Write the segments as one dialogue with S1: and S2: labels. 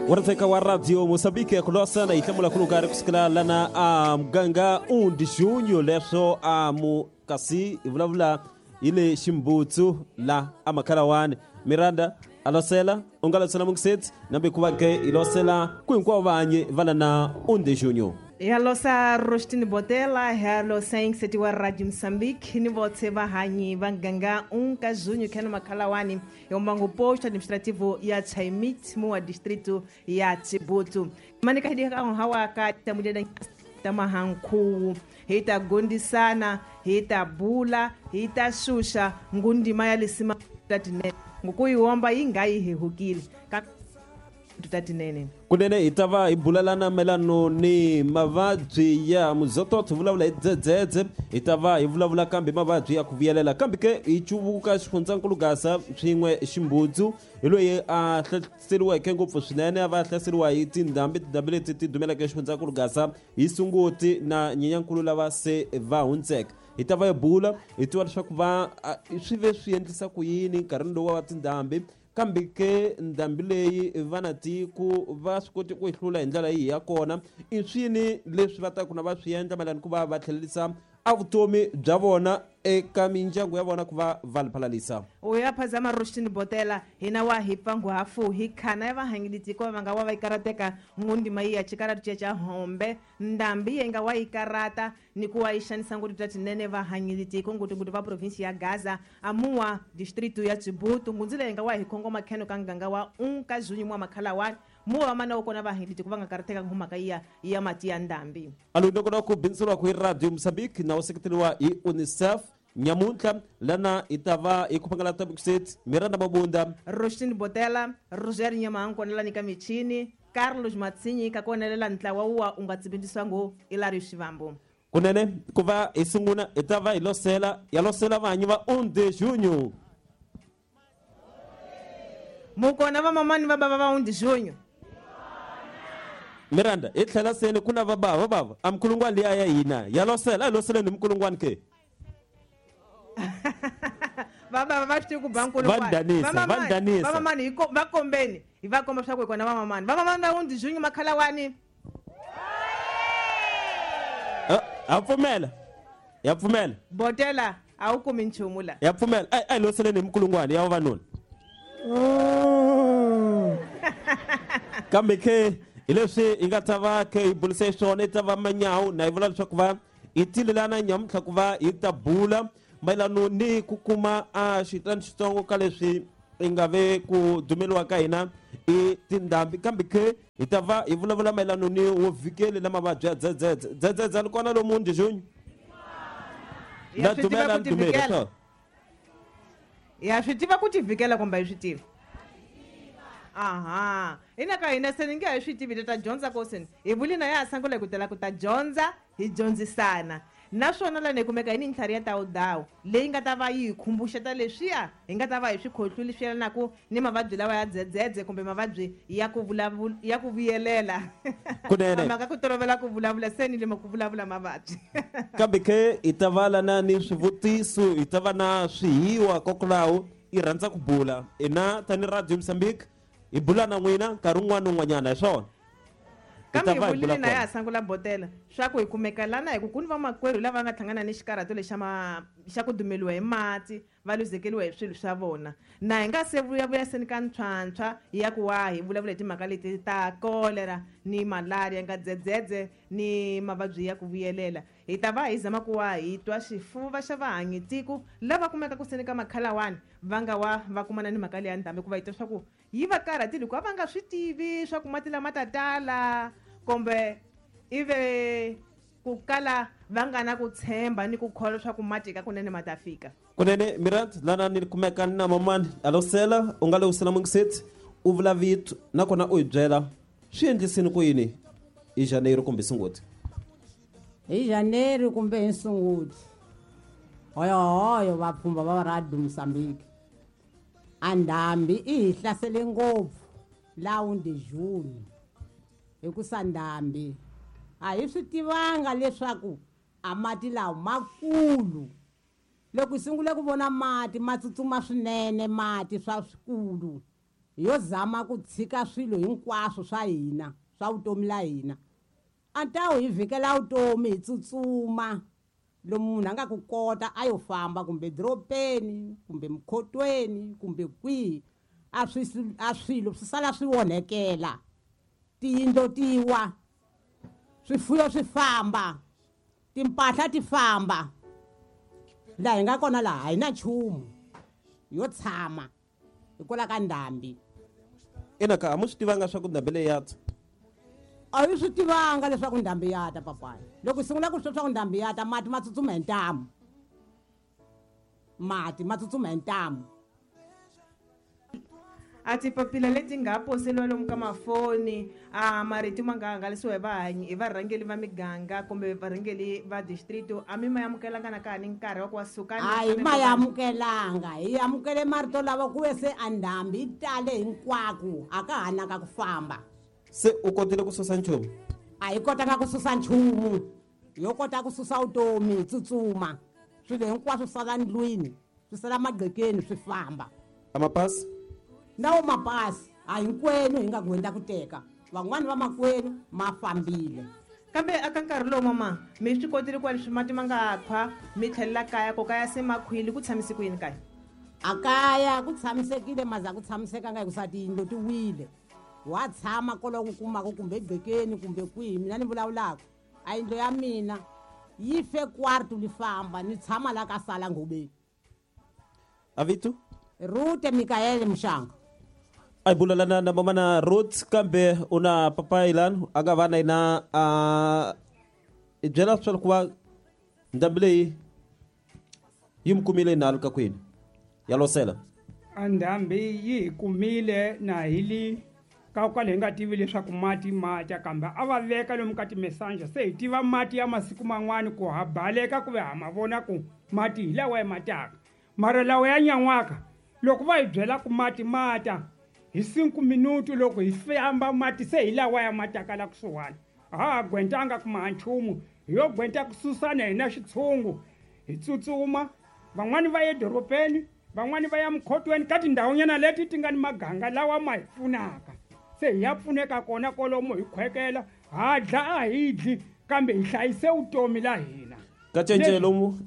S1: Waritheka wa Radio Mozambique kulosa na ihlamula kulukari kusukela lana a muganga 1 de junho leswo a mu kasi hi vulavula hi le ximbutsu la amakhalawani Miranda alosela u nga losela mungisetsi nambe ku va ke hi losela ku hinkwavo vanyi va lana 1 de junho.
S2: Yalosa Rostini Botela, yalosa ingiseti wa Radio Mozambique, ni votse vahanyi va nganga 1 ka junho kheno makhalawani yombango posto administrativo ya Chaimit muwa distrito ya Chibutu. Manika hidi ka hawa ka tamudeda tamahankhuwu hi ta gondisana, hi ta bula, hi ta xuxa ngundima ya lisima tatinene ngokuyiwomba yi nga yi hehukile ka tatinene.
S1: Kunene hi ta va hi bulalana mayelano ni mavabyi ya muzototo, hi vulavula hi dzedzedze, hi ta va hi vulavula kambe mavabyi ya ku vuyelela, kambe ke hi cuvuka xifundzankulu Gaza swin'we Ximbudzu hi loyi a hlaseriweke ngopfu swinene, a va hlaseriwa hi tindhambi, tindhambi leti ti dumeleke xifundzankulu Gaza hi Sunguti na Nyenyankulu lava se va hundzeke. Hi ta va hi bula hi tiva leswaku va swi ve swi endlisa ku yini nkarhini lowu wa tindhambi, kambe ke ndhambi leyi vana tiko va swi koti ku yi hlula hi ndlela yihi ya kona, i swini leswi va taku na va swi endla mayelana ku va va tlhelerisa a vutomi bya vona eka mindyangu ya vona ku va va liphalalisa.
S2: U ya phazama Rostini Botela hina wa hi pfa hafu hi khana ya vahangili tiko va nga wa va yi karateka ngundima yi ya xikaratu xa hombe ndhambi yi nga wa yi karata ni ku wa yi xanisa ngopfu bya tinene vahanyili tiko ngopfungopfu va provinsi ya Gaza amuwa distrito ya Chibutu ngundzi leyi nga wa hi khongoma kheno ka nganga wa 1 ka junho mwa makhalawani muwa va mana wa kona vahanyili tiko va nga karateka ngumhaka ya ya mati ya ndhambi.
S1: Alo ndokona ku bindzuriwa ku hi Radio Mozambique na u seketeriwa hi UNICEF nyamuntlha lana hi ta va hi ku phangalata Mixet Miranda Mabunda
S2: Rostini Botela Roger Nyamahankonela ni ka michini Carlos Matsinyi ka konelela ntlawa wa u nga tsibindisiwa ngo Ilario Xivambo.
S1: Kunene ku va hi sungula hi ta va hi losela ya losela vanyi va 1 de junho.
S2: Mukona va mamani va bava va 1 de junho.
S1: Miranda hi tlhela seni ku na va bava bava a mkulungwani liya ya hina ya losela a losela ni mkulungwani ke.
S2: Va bava va swi ku ba nkulungwani.
S1: Va danisa.
S2: Va mamani hi va kombeni hi va komba swa ku hi kona va mamani. Va mamani va 1 de junho makhalawani.
S1: Ya pfumela. Ya pfumela.
S2: Botela a wu kumi nchumu la.
S1: Ya pfumela. Ai loseleni hi mkulungwani ya vavanuna. Kambe ke hi leswi hi nga ta va ke hi burise swona hi ta va manyawu na hi vula leswaku va hi tilelana nyamuntlha ku va hi ta bula mayelano ni ku kuma a xitani xitsongo ka leswi hi nga ve ku dumeliwa ka hina i tindhambi, kambe ke hi ta va hi vulavula mayelano ni wo vhikeli na mavabyi ya dzedzedze. Dzedzedze ni kona lomu 1 de junho.
S2: Ya swi tiva ku tivikela. Ya swi tiva ku tivikela kumbe hi swi tivi. Aha, ina ka hina se ni nge hi swi tivi ta dyondza ko seni. Hi vuli na ya sangula ku tela ku ta dyondza hi dyondzisana. Naswona lana hi kumeka hi ni ntlhari ya tawudawu leyi nga ta va yi hi khumbuxeta leswiya hi nga ta va hi swi khohlwile swi yelanaka ni mavabyi lawa ya dzedzedze kumbe mavabyi ya ku vulavula ya ku vuyelela.
S1: Kunene.
S2: Mhaka ku tolovela ku vulavula se ni lema ku vulavula mavabyi.
S1: Kambe ke hi ta va lana ni swivutiso, hi ta va na swihiwa kokwalaho hi rhandza ku bula. Hina tani Radio Mozambique hi bula na n'wina nkarhi wun'wana na wun'wanyana hi swona.
S2: Kambe hi vulile na ya sangula Botela swa ku hi kumeka lana hi ku ku ni vamakwerhu lava nga hlangana ni xikarhato lexa xa ku dumeliwa hi mati va luzekeriwa hi swilo swa vona. Na hi nga se vuyavuya seni ka ntlhwantlhwa ya ku wa hi vulavula hi timhaka leti ta cholera ni malaria nga dzedzedze ni mavabyi ya ku vuyelela. Hi ta va hi zama ku wa hi twa xifuva xa vahanyi tiko lava kumeka ku seni ka makhalawani va nga wa va kumana ni mhaka leya ndhambi ku va hi twa swa ku yi va karhatile hikuva va nga swi tivi swa ku mati lama ta tala kumbe ive ku kala va nga na ku tshemba ni ku kholwa swa ku mati ka kunene ma ta fika.
S1: Kunene Miranda lana ni kumeka na mamani alosela u nga lewusela mungisetsi u vula vito nakona u hi byela swi endlisini ku yini hi Janeiro kumbe Sunguti.
S3: Hi Janeiro kumbe hi Sunguti. Hoyohoyo vapfhumba va Radio Mozambique. A ndhambi i hi hlasele ngopfu laha 1 de junho hikusa ndhambi a hi swi tivanga leswaku a mati lawa makulu. Loko hi sungule ku vona mati ma tsutsuma swinene mati swa swikulu Yo zama ku tshika swilo hinkwaswo swa hina swa vutomi la hina. A ta hi vhikela vutomi hi tsutsuma lomu munhu a nga ku kota a yo famba kumbe dorobeni kumbe mukhotweni kumbe kwihi, a swilo swi sala swi onhekela, tiyindlu ti wa, swifuyo swi famba, timpahla ti famba. Laha hi nga kona laha hi na nchumu yo tshama hikwalaho ka ndhambi.
S1: Ina ka a mu swi tivanga swa ku ndhambi leyi ya ta?
S3: A yi swi tivanga leswaku ndhambi ya ta, papayi. Loko hi sungula ku swi swa ku ndhambi ya ta, mati ma tsutsuma hi ntamu. Mati ma tsutsuma hi ntamu.
S2: A tipapila leti nga poseliwa lomu ka mafoni, a marito ma nga hangalasiwa hi vahanyi hi varhangeli va miganga kumbe varhangeli va district, a mi ma amukelanga na ka ha ni nkarhi wa ku wa suka?
S3: A hi ma amukelanga, hi amukele marito lava ku ve se a ndhambi yi tale hinkwako, a ka ha naka ku famba.
S1: Se u kotile ku susa nchumu?
S3: A hi kotanga ku susa nchumu, yo kota ku susa vutomi hi tsutsuma, swilo hinkwaswo sala ndlwini, swi sala magqekeni, swi famba.
S1: A mapasi?
S3: Nawo mapasi a hinkwenu hi nga gwenda ku teka, van'wani va makwenu ma fambile.
S2: Kambe aka nkarhi lowu mama mi swi kotile ku leswi mati ma nga khwa mi tlhelela kaya, ko kaya se makhwili, ku tshamise ku yini kaya?
S3: A kaya ku tshamisekile, maza ku tshamisekanga hikusa tiyindlu ti wile. Wa tshama kwaloku kumaka kumbe egqekeni kumbe kwihi, mina ni vulavulaka a yindlu ya mina yi fe kwartu li famba, ni tshama la ka sala ngobeni.
S1: A vito?
S3: Rute Mikaele Muxanga.
S1: A hi bulalana na mama na Ruth, kambe u na papayi lani a nga va na yena a hi byela swa ku va ndhambi leyi yi mi kumile nalo ka kwini ya losela.
S4: A ndhambi yi hi kumile na hi li ka kwale hi nga tivi leswaku mati ma ta, kambe a va veka lomu ka timesanja, se hi tiva mati ya masiku man'wani ku ha baleka ku ve ha ma vona ku mati hi lawa ya mataka. Mara lawa ya nyan'waka loko va hi byela ku mati ma ta hi 5 minuti, loko hi famba mati se hi lawa ya mataka la kusuhani, a ha ha gwentanga ku maha nchumu, hi yo gwenta ku susana hina xitshungu hi tsutsuma. Van'wani va ye dorobeni, van'wani va ya mukhotweni, ka tindhawunyana leti ti nga ni maganga lawa ma hi pfunaka, se hi ya pfuneka kona kolomo hi khwekela. Ha dla a hi dli, kambe hi hlayise vutomi la hina.
S1: Ka cence lomu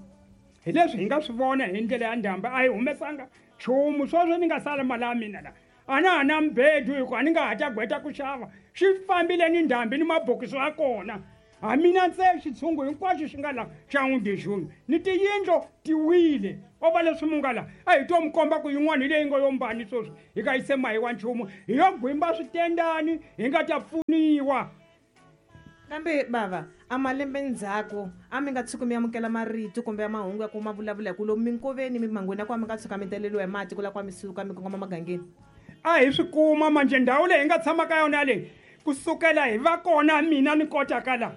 S4: hi leswi hi nga swi vona hi ndlela ya ndhambi, a hi humesanga nchumu. Sweswo ni nga sala mali ya mina la a na ha na mbedu, hi ku a ni nga ha ta gweta ku xava, xi fambile ni ndhambi ni mabokisi ya kona. Ha mina ntse xitshungu hinkwaxo xi nga la xa n'windexuni ni tiyindlo ti wile. O va leswi mu nga la a hi to mi komba ku yin'wana hi leyi nga yo mbani sweswi hi ka yi se mahiwa nchumu, hi yo gwimba switendani hi nga ta pfuniwa.
S2: Kambe bava a malembe ndzhaku a mi nga tshuki mi amukela marito kumbe ya mahungu ya ku ma vulavula hi ku lomu minkoveni mimangweni ya ku a mi nga tshuka mi teleriwa hi mati ku la ku mi suka mi kongoma magangeni?
S4: A hi swi kuma manje ndhawu leyi hi nga tshama ka yona leyi kusukela hi va kona mina ni kotaka la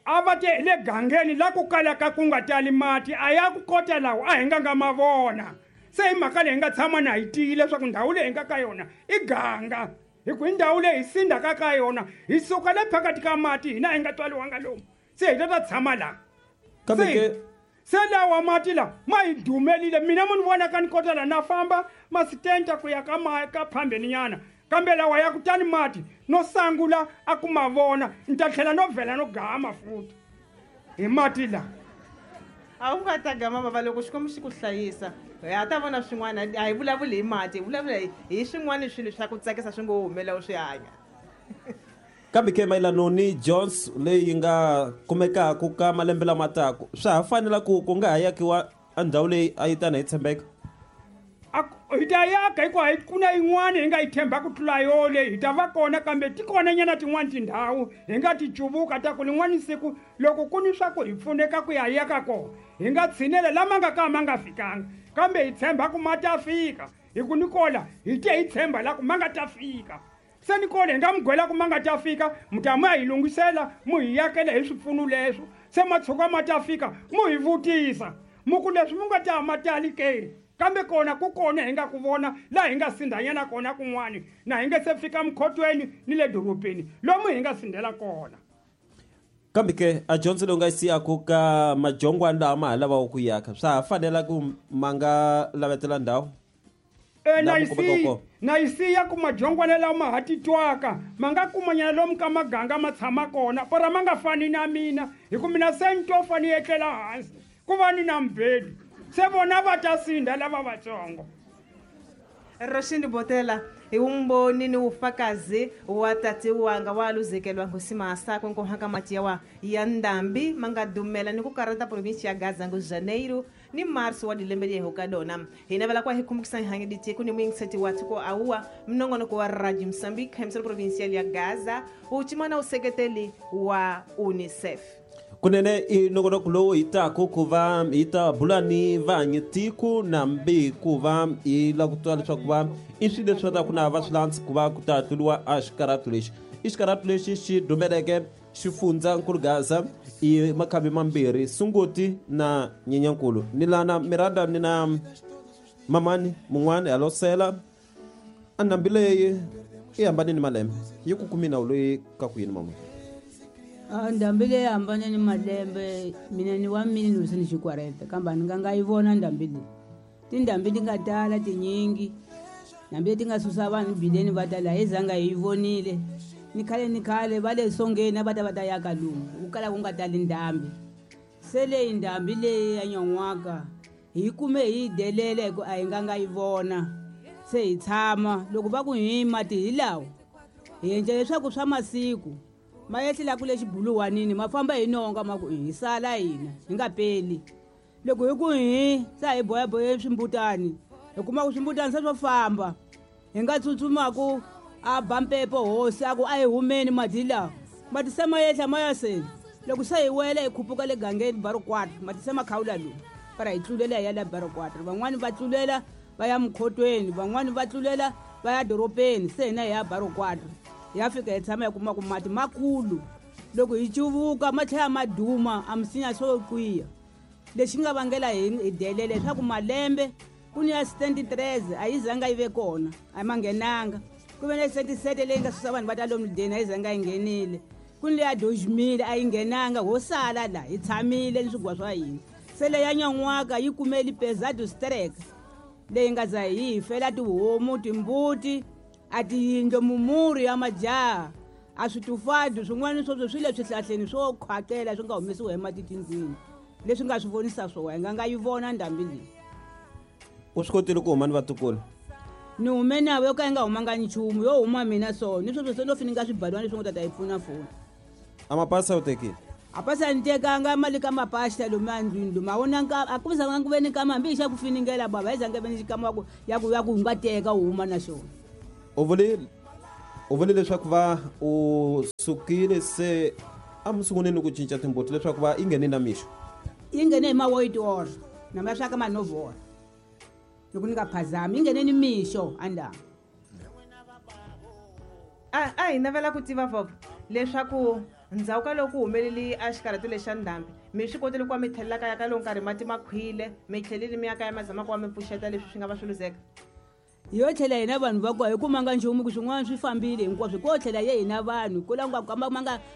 S4: a va te hi le gangeni la ku kalaka ku nga tali mati, a ya ku kota lawa a hi nga nga ma vona. Se hi mhaka leyi hi nga tshama na hi tiyile leswaku ndhawu leyi hi nga ka yona i ganga, hi ku hi ndhawu leyi hi sindzaka ka yona, hi suka le phakathi ka mati hina hi nga tswaliwanga lomu, se hi ta ta tshama laha.
S1: Kambe ke
S4: se lawa mati la ma hi dumelile. Mina mu ni vonaka ni kota la na famba masitenta ku ya ka ma ka phambeni nyana, kambe lawa ya kutani mati no sangula a ku ma vona, ni ta tlhela no vhela no gama futhi hi mati la.
S2: A wu nga ta gama bava loko Xikwembu xi ku hlayisa, hi ha ta vona swin'wana. A hi vulavuli hi mati, hi vulavula hi swin'wana swilo swa ku tsakisa swi ngo humela u swi hanya.
S1: Kambe ke mayelano ni Jones leyi nga kumekaka ka malembe lama taka, swa ha fanela ku ku nga ha yakiwa a ndhawu leyi a yi tana hi tshembeka?
S4: Hi ta yaka hikuva hi ku na yin'wana hi nga yi tshemba ku tlula yo leyi, hi ta va kona, kambe ti kona nyana tin'wani tindhawu hi nga ti cuvuka ta ku lin'wani siku loko ku ni swa ku hi pfuneka ku ya yaka kona hi nga tshinela lama nga ka ma nga fikanga, kambe hi tshemba ku ma ta fika, hi ku ni kola hi te hi tshemba la ku ma nga ta fika. Se ni kona hi nga mi gwela ku ma nga ta fika, mi ta mu ya hi lunghisela mu hi yakela hi swipfuno leswo, se ma tshuka ma ta fika mu hi vutisa mu ku leswi mu nga ta ma tali ke, kambe kona ku kona hi nga ku vona laha hi nga sindzanyana kona kun'wani, na hi nga se fika mukhotweni ni le dorobeni lomu hi nga sindzela kona.
S1: Kambe ke a dyondzo leyi u nga yi siyaku ka majongwani lawa ma ha lavaka ku yaka, swa ha fanela ku ma nga lavetela ndhawu?
S4: Na yi siya ku madyongwana lawa ma ha titwaka ma nga kumanyana lomu ka maganga ma tshama kona para ma nga fani na mina hi ku mina se ni to fani etlela hansi ku va ni na mbedu se vona va ta sindza lava vatsongo.
S2: Roxini Botela hi vumbhoni ni vufakazi wa tati wanga wa luzekelwa ngusimasa konkohaka mati yawa ya ndambi ma nga dumela ni ku karata provinsi ya Gaza ngo Janeiro ni marso wa dilembe leyi ka dona. Hi navela kwa hi kumbukisa hi ditiko ni muyingiseti wa tiko awuwa minongonoko wa Radio Mozambique emissora provincial ya Gaza u useketeli wa UNICEF.
S1: Kunene i nongonoko lowu hi taku ku va hi ta bula ni vanyi tiko nambi ku va hi lava ku twa leswaku va i swilo leswi va ta ku na va swi landzi ku va ku ta tluriwa a xikaratu lexi. I xikaratu lexi xi dumeleke xifundzankulu Gaza i makhambi mambirhi Sunguti na Nyenyankulu. Ni lana Miranda ni na mamani mun'wani halosela a ndhambi leyi i hambane ni malembe yi ku kumi nawu loyi ka ku yini mama?
S5: Ndhambi leyi hambane ni malembe mina ni wa mini ni ni xikwareta kambe ni nga yi vona ndhambi leyi. Tindhambi ti nga tala tinyingi ndhambi leti nga susa vanhu bileni va ta laha hi zanga hi yi vonile ni khale va le songeni a va ta va ta yaka lomu ku kala ku nga tali ndhambi. Se leyi ndhambi leyi ya nyan'waka hi kume hi yi delela hi ku a hi nga nga yi vona se hi tshama loko va ku hi mati hi lawa hi endla leswaku swa masiku ma yehlela ku le xibuluwanini ma famba hi nonga ma ku hi sala hina hi nga peli. Loko hi ku hi sa hi boyaboye swimbutani hi kuma ku swimbutani se swo famba hi nga tsutsumaku a ba mpepo hosi a ku a hi humeni mati lawa mati se ma yehla ma ya seni. Loko se hi wela hi khupuka le gangeni Barokwata mati se ma khawula lomu para hi tlulela hi ya la Barokwata van'wani va tlulela va ya Mkhotweni van'wani va tlulela va ya doropeni se hina hi ya Barokwata hi ya fika hi tshama hi kuma ku mati makulu loko hi cuvuka ma tlhela ma duma a misinya swo kwiya. Lexi nga vangela hi delele leswaku malembe ku ni ya 73 a yi zanga yi ve kona a ma nghenanga ku ve na 77 leyi nga susa vanhu va ta lomu deni a yi zanga yi nghenile ku ni leya 2000 a yi nghenanga ho sala la hi tshamile ni swigwa swa hina. Se leya nyan'waka yi kumeli pesado strike leyi nga za hi fela tihomu timbuti a tiyindlo mumurhi ya majaha a switufadu swin'wana sweswo swi le swihlahleni swo khwaqela swi nga humesiwa hi mati tindlwini leswi nga swi vonisa swona hi nga nga yi vona ndhambi leyi.
S1: U swi kotile ku huma ni vatukulu?
S5: Ni hume navo yo ka yi nga humanga nchumu yo huma mina so ni sweswo se no fininga swibalwana leswi ngo ta yi pfuna foni.
S1: A mapasi a wu tekile?
S5: A pasi a ni tekanga mali ka mapasi lomu andlwini lomu a wona a ku zanga ku ve ni kama hambi hi xa ku finingela baba hi zanga ve ni xikama ya ku u nga teka u huma na xona.
S1: U vule leswaku va u sukile se a mi sunguleni ku cinca timbuti leswaku va yi nghene na mixo?
S5: Yi nghene hi ma-8 ora na ma swa ka ma 9 ora loko ni nga phazami yi nghene ni mixo a ndhawu.
S2: A hi navela ku tiva vova leswaku ndzhaku ka loko ku humeleli a xikarhati lexa ndhambi mi swi kotile ku va mi tlhelela kaya ka loko nkarhi mati ma khwile mi tlhelile mi ya kaya ma zama ku va mi pfuxeta leswi swi nga va swi luzeka?
S5: Yo tlhela hina vanhu va kona hi kumanga nchumu ku swin'wana swi fambile hinkwaswo ko tlhela ye hina vanhu ko la nga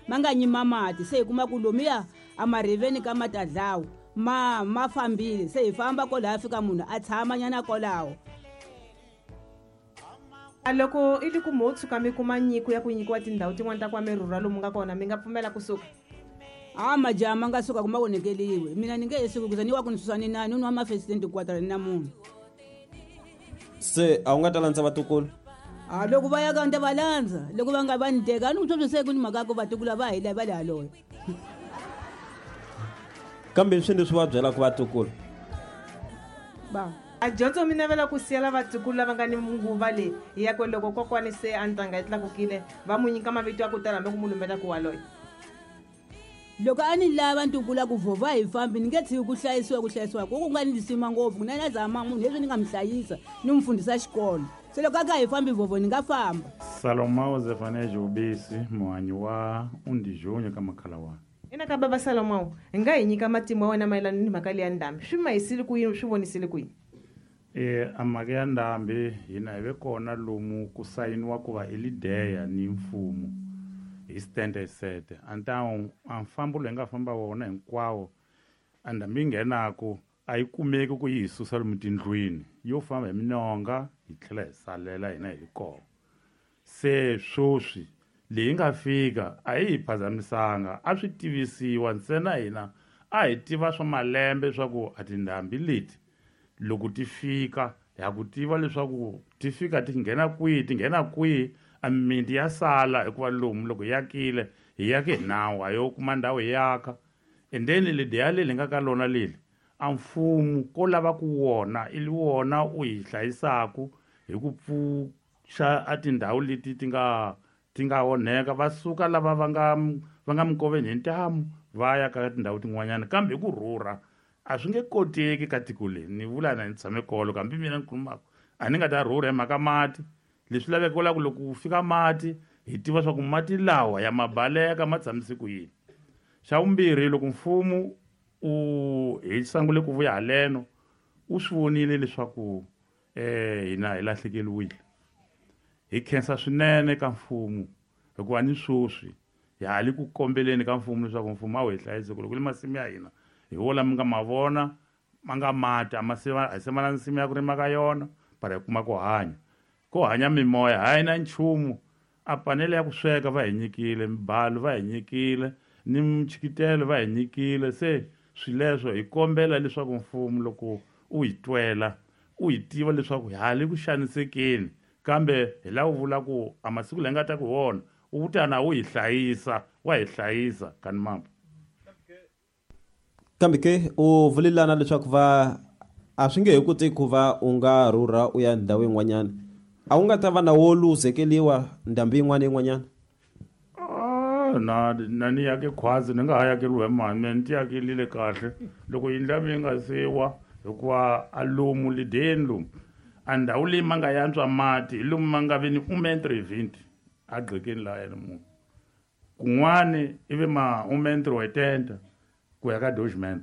S5: ma nga nyima mati se hi kuma ku lomuya a mariveni ka matadlawu ma fambile se hi famba kwalaho fika munhu a tshama nyana kwalaho.
S2: A loko i li ku mo tshuka mi kuma nyiko ya ku nyikiwa tindhawu tin'wana ta ku va mi rhurha lomu nga kona mi nga pfumela kusuka?
S5: A majaha ma nga suka ku ma onhekeliwe mina ni nge he suki kuza ni wa ku ni susa ni nani ni wa mafesitenti kwatara ni na munhu.
S1: Se a wu nga ta landza vatukulu?
S5: A loko va ya ka ni ta va landza loko va nga va ni teka a ni ku sweswo se ku ni mhaka ya ku vatukulu va hi la va le haloyo.
S1: Kambe swi leswi va byelaka vatukulu?
S5: Ba.
S2: A dyondzo mi navela ku siyela vatukulu lava nga ni nguva leyi ya ku loko kokwani se a ntanga yi tlakukile va n'wi nyika mavito ya ku tala hambi ku mu lumbeta ku waloye.
S5: Loko a ni lava ntukulu ku vova hi fambi ni nge tshiki ku hlayisiwa ku nga ni lisima ngopfu na na zama munhu leswi ni nga mi hlayisa ni n'wi fundisa xikolo se loko a ka hi fambi vovo ni nga famba.
S6: Salomão Zefanés Ubisi muhanyi wa Undijunyo ka Makhalawana.
S2: Ina ka baba Salomão hi nga hi nyika matimu ya wena mayelana ni mhaka leya ndhambi swi mahisile ku yini swi vonisile ku yini?
S6: A mhaka ya ndhambi hina hi ve kona lomu ku sayiniwa ku va elideya ni mfumo hi 77 antawu a mfambo lowu hi nga famba wona hinkwawo a ndhambi yi nghenaku a yi kumeki ku yi hi susa lomu tindlwini yo famba hi minonga hi tlhela hi salela hina hi kona. Se sweswi leyi nga fika a yi hi phazamisanga, a swi tivisiwa ntsena hina a hi tiva swa malembe swa ku a tindhambi leti loko ti fika ha ku tiva leswaku ti fika ti nghena kwihi, ti nghena kwihi, a mimiti ya sala hikuva lomu loko hi akile hi yake hi nawu, a yo kuma ndhawu hi aka. And then lediya leli hi nga ka lona leli a mfumo ko lava ku wona i wona u hi hlayisaku hi ku pfuxa a tindhawu leti ti nga onheka, va suka lava va nga mikoveni hi ntamu va ya ka tindhawu tin'wanyana. Kambe hi ku rhurha a swi nge koteki ka tiko leri, ni vula na ni tshame kolo, kambe mina ni khulumaka a ni nga ta rhurha hi mhaka mati. Leswi laveka la ku loko ku fika mati hi tiva swa ku mati lawa ya mabaleka ma tshamise ku yini. Xa vumbirhi, loko mfumo u hi sungule ku vuya haleno u swi vonile leswaku hina hi lahlekeriwile. Hi khensa swinene ka mfumo hikuva ni sweswi hi ha le ku kombeleni ka mfumo leswaku mfumo a wu hi hlayise ku loko le masimu ya hina hi wo lama nga ma vona ma nga mati a hi se ma na nsimu ya ku rima ka yona, para hi kuma ku hanya. Ko hanya mimoya hayi na nchumu. A panele ya ku sweka va hi nyikile, mibalo va hi nyikile, ni mchikitelo va hi nyikile. Se swileswo hi kombela leswaku mfumo loko u hi twela u hi tiva leswaku hi ha le ku xanisekeni, kambe hi lava ku vula ku a masiku lawa nga ta ku wona u ta na wu hi hlayisa, wa hi hlayisa kani mambo.
S1: Kambe ke u vulelana leswaku va a swi nge he koteki ku va u nga rhurha u ya ndhawu yin'wanyana, a wu nga ta va na wo luzekeliwa ndhambi yin'wana yin'wanyana?
S6: Na ni yake khwazi ni nga ha yakeriwa hi mani, mina ni ti yakelile kahle loko yindlu ya mina yi nga siwa, hikuva a lomu lideni lomu a ndhawu leyi ma nga yantswa mati hi lomu ma nga vi ni 1.20 a gqekeni laha yena munhu kun'wani ivi ma 1.80 ku ya ka 2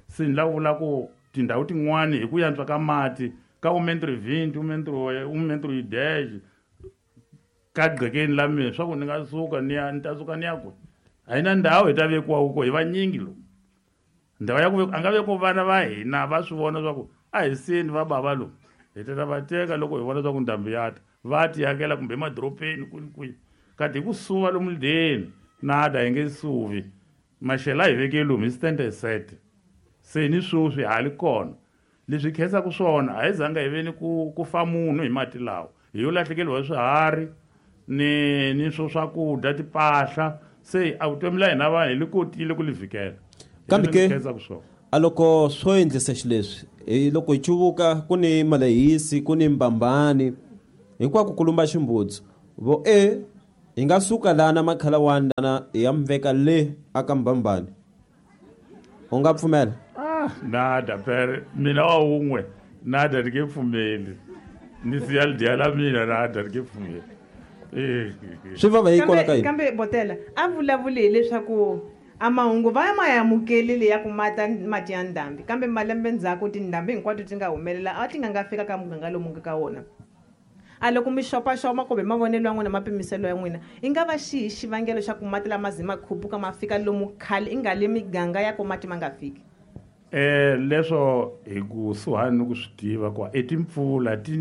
S6: Se ni lava vula ku tindhawu tin'wani hi ku yantswa ka mati ka 1.20 1.10 ka gqekeni la mina swa ku ni nga suka ni ya ni ta suka ni ya kwihi? A hi na ndhawu hi ta vekiwa ko, hi vanyingi lomu. Ndhawu ya ku a nga vekiwa vana va hina va swi vona swa ku a hi seni va bava lomu, hi ta va teka loko hi vona swa ku ndhambi ya ta, va ti yakela kumbe emadorobeni kwini kwihi. Kati hi ku suva lomu lideni nada hi nge suvi, maxelo a hi veke lomu hi stand set. Se ni sweswi ha li kona. Leswi khensaka swona a hi zanga hi ve ni ku fa munhu hi mati lawa, hi yo lahlekeriwa hi swiharhi ni swo swakudya timpahla. Se a vutomi la hina vanhu hi li kotile ku li vhikela.
S1: Kambe ke a loko swo endlisa xileswi, hi loko hi cuvuka ku ni malehisi, ku ni mbambani, hinkwako ku lumba ximbutsu, vo hi nga suka lana makhalawani lana hi ya mveka le aka mbambani, u nga pfumela?
S6: Nada pere mina wa wun'we nada ni nge pfumeli, ni siya lidya la mina nada ni nge pfumeli.
S1: Swi vava hi kwala ka yini?
S2: Kambe Botela a vulavuli hileswaku a mahungu va ma amukelile ya ku mata mati ya ndhambi, kambe malembe ndzhaku tindhambi hinkwato ti nga humelela a ti nga fika ka muganga lomu nga ka wona. A loko mi xopaxopa kumbe mavonelo ya n'wina mapimiselo ya n'wina, i nga va xihi xivangelo xa ku mati lama ze ma khupuka ma fika lomu khale i nga le miganga ya ku mati ma nga fiki?
S6: Leswo hi kusuhani ni ku swi tiva ku i timpfula ti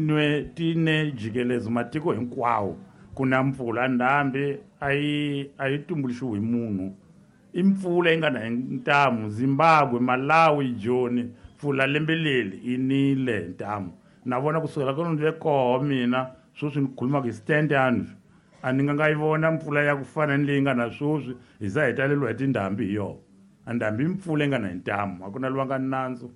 S6: ne jikelezo matiko hinkwawo ku na mpfula. Ndhambi a yi tumbuluxiwi hi munhu, i mpfula yi nga na hi ntamu. Zimbabwe, Malawi, Joni, mpfula lembe leri yi nile hi ntamu. Na vona kusukela ka ni ve koho mina sweswi ni khulumaka hi stand yanvi, a ni nga yi vona mpfula ya ku fana ni leyi nga na sweswi, hi za hi taleriwa hi tindhambi hi yona. A ndhambi i mpfula yi nga na hi ntamu, a ku na lwanga nandzu.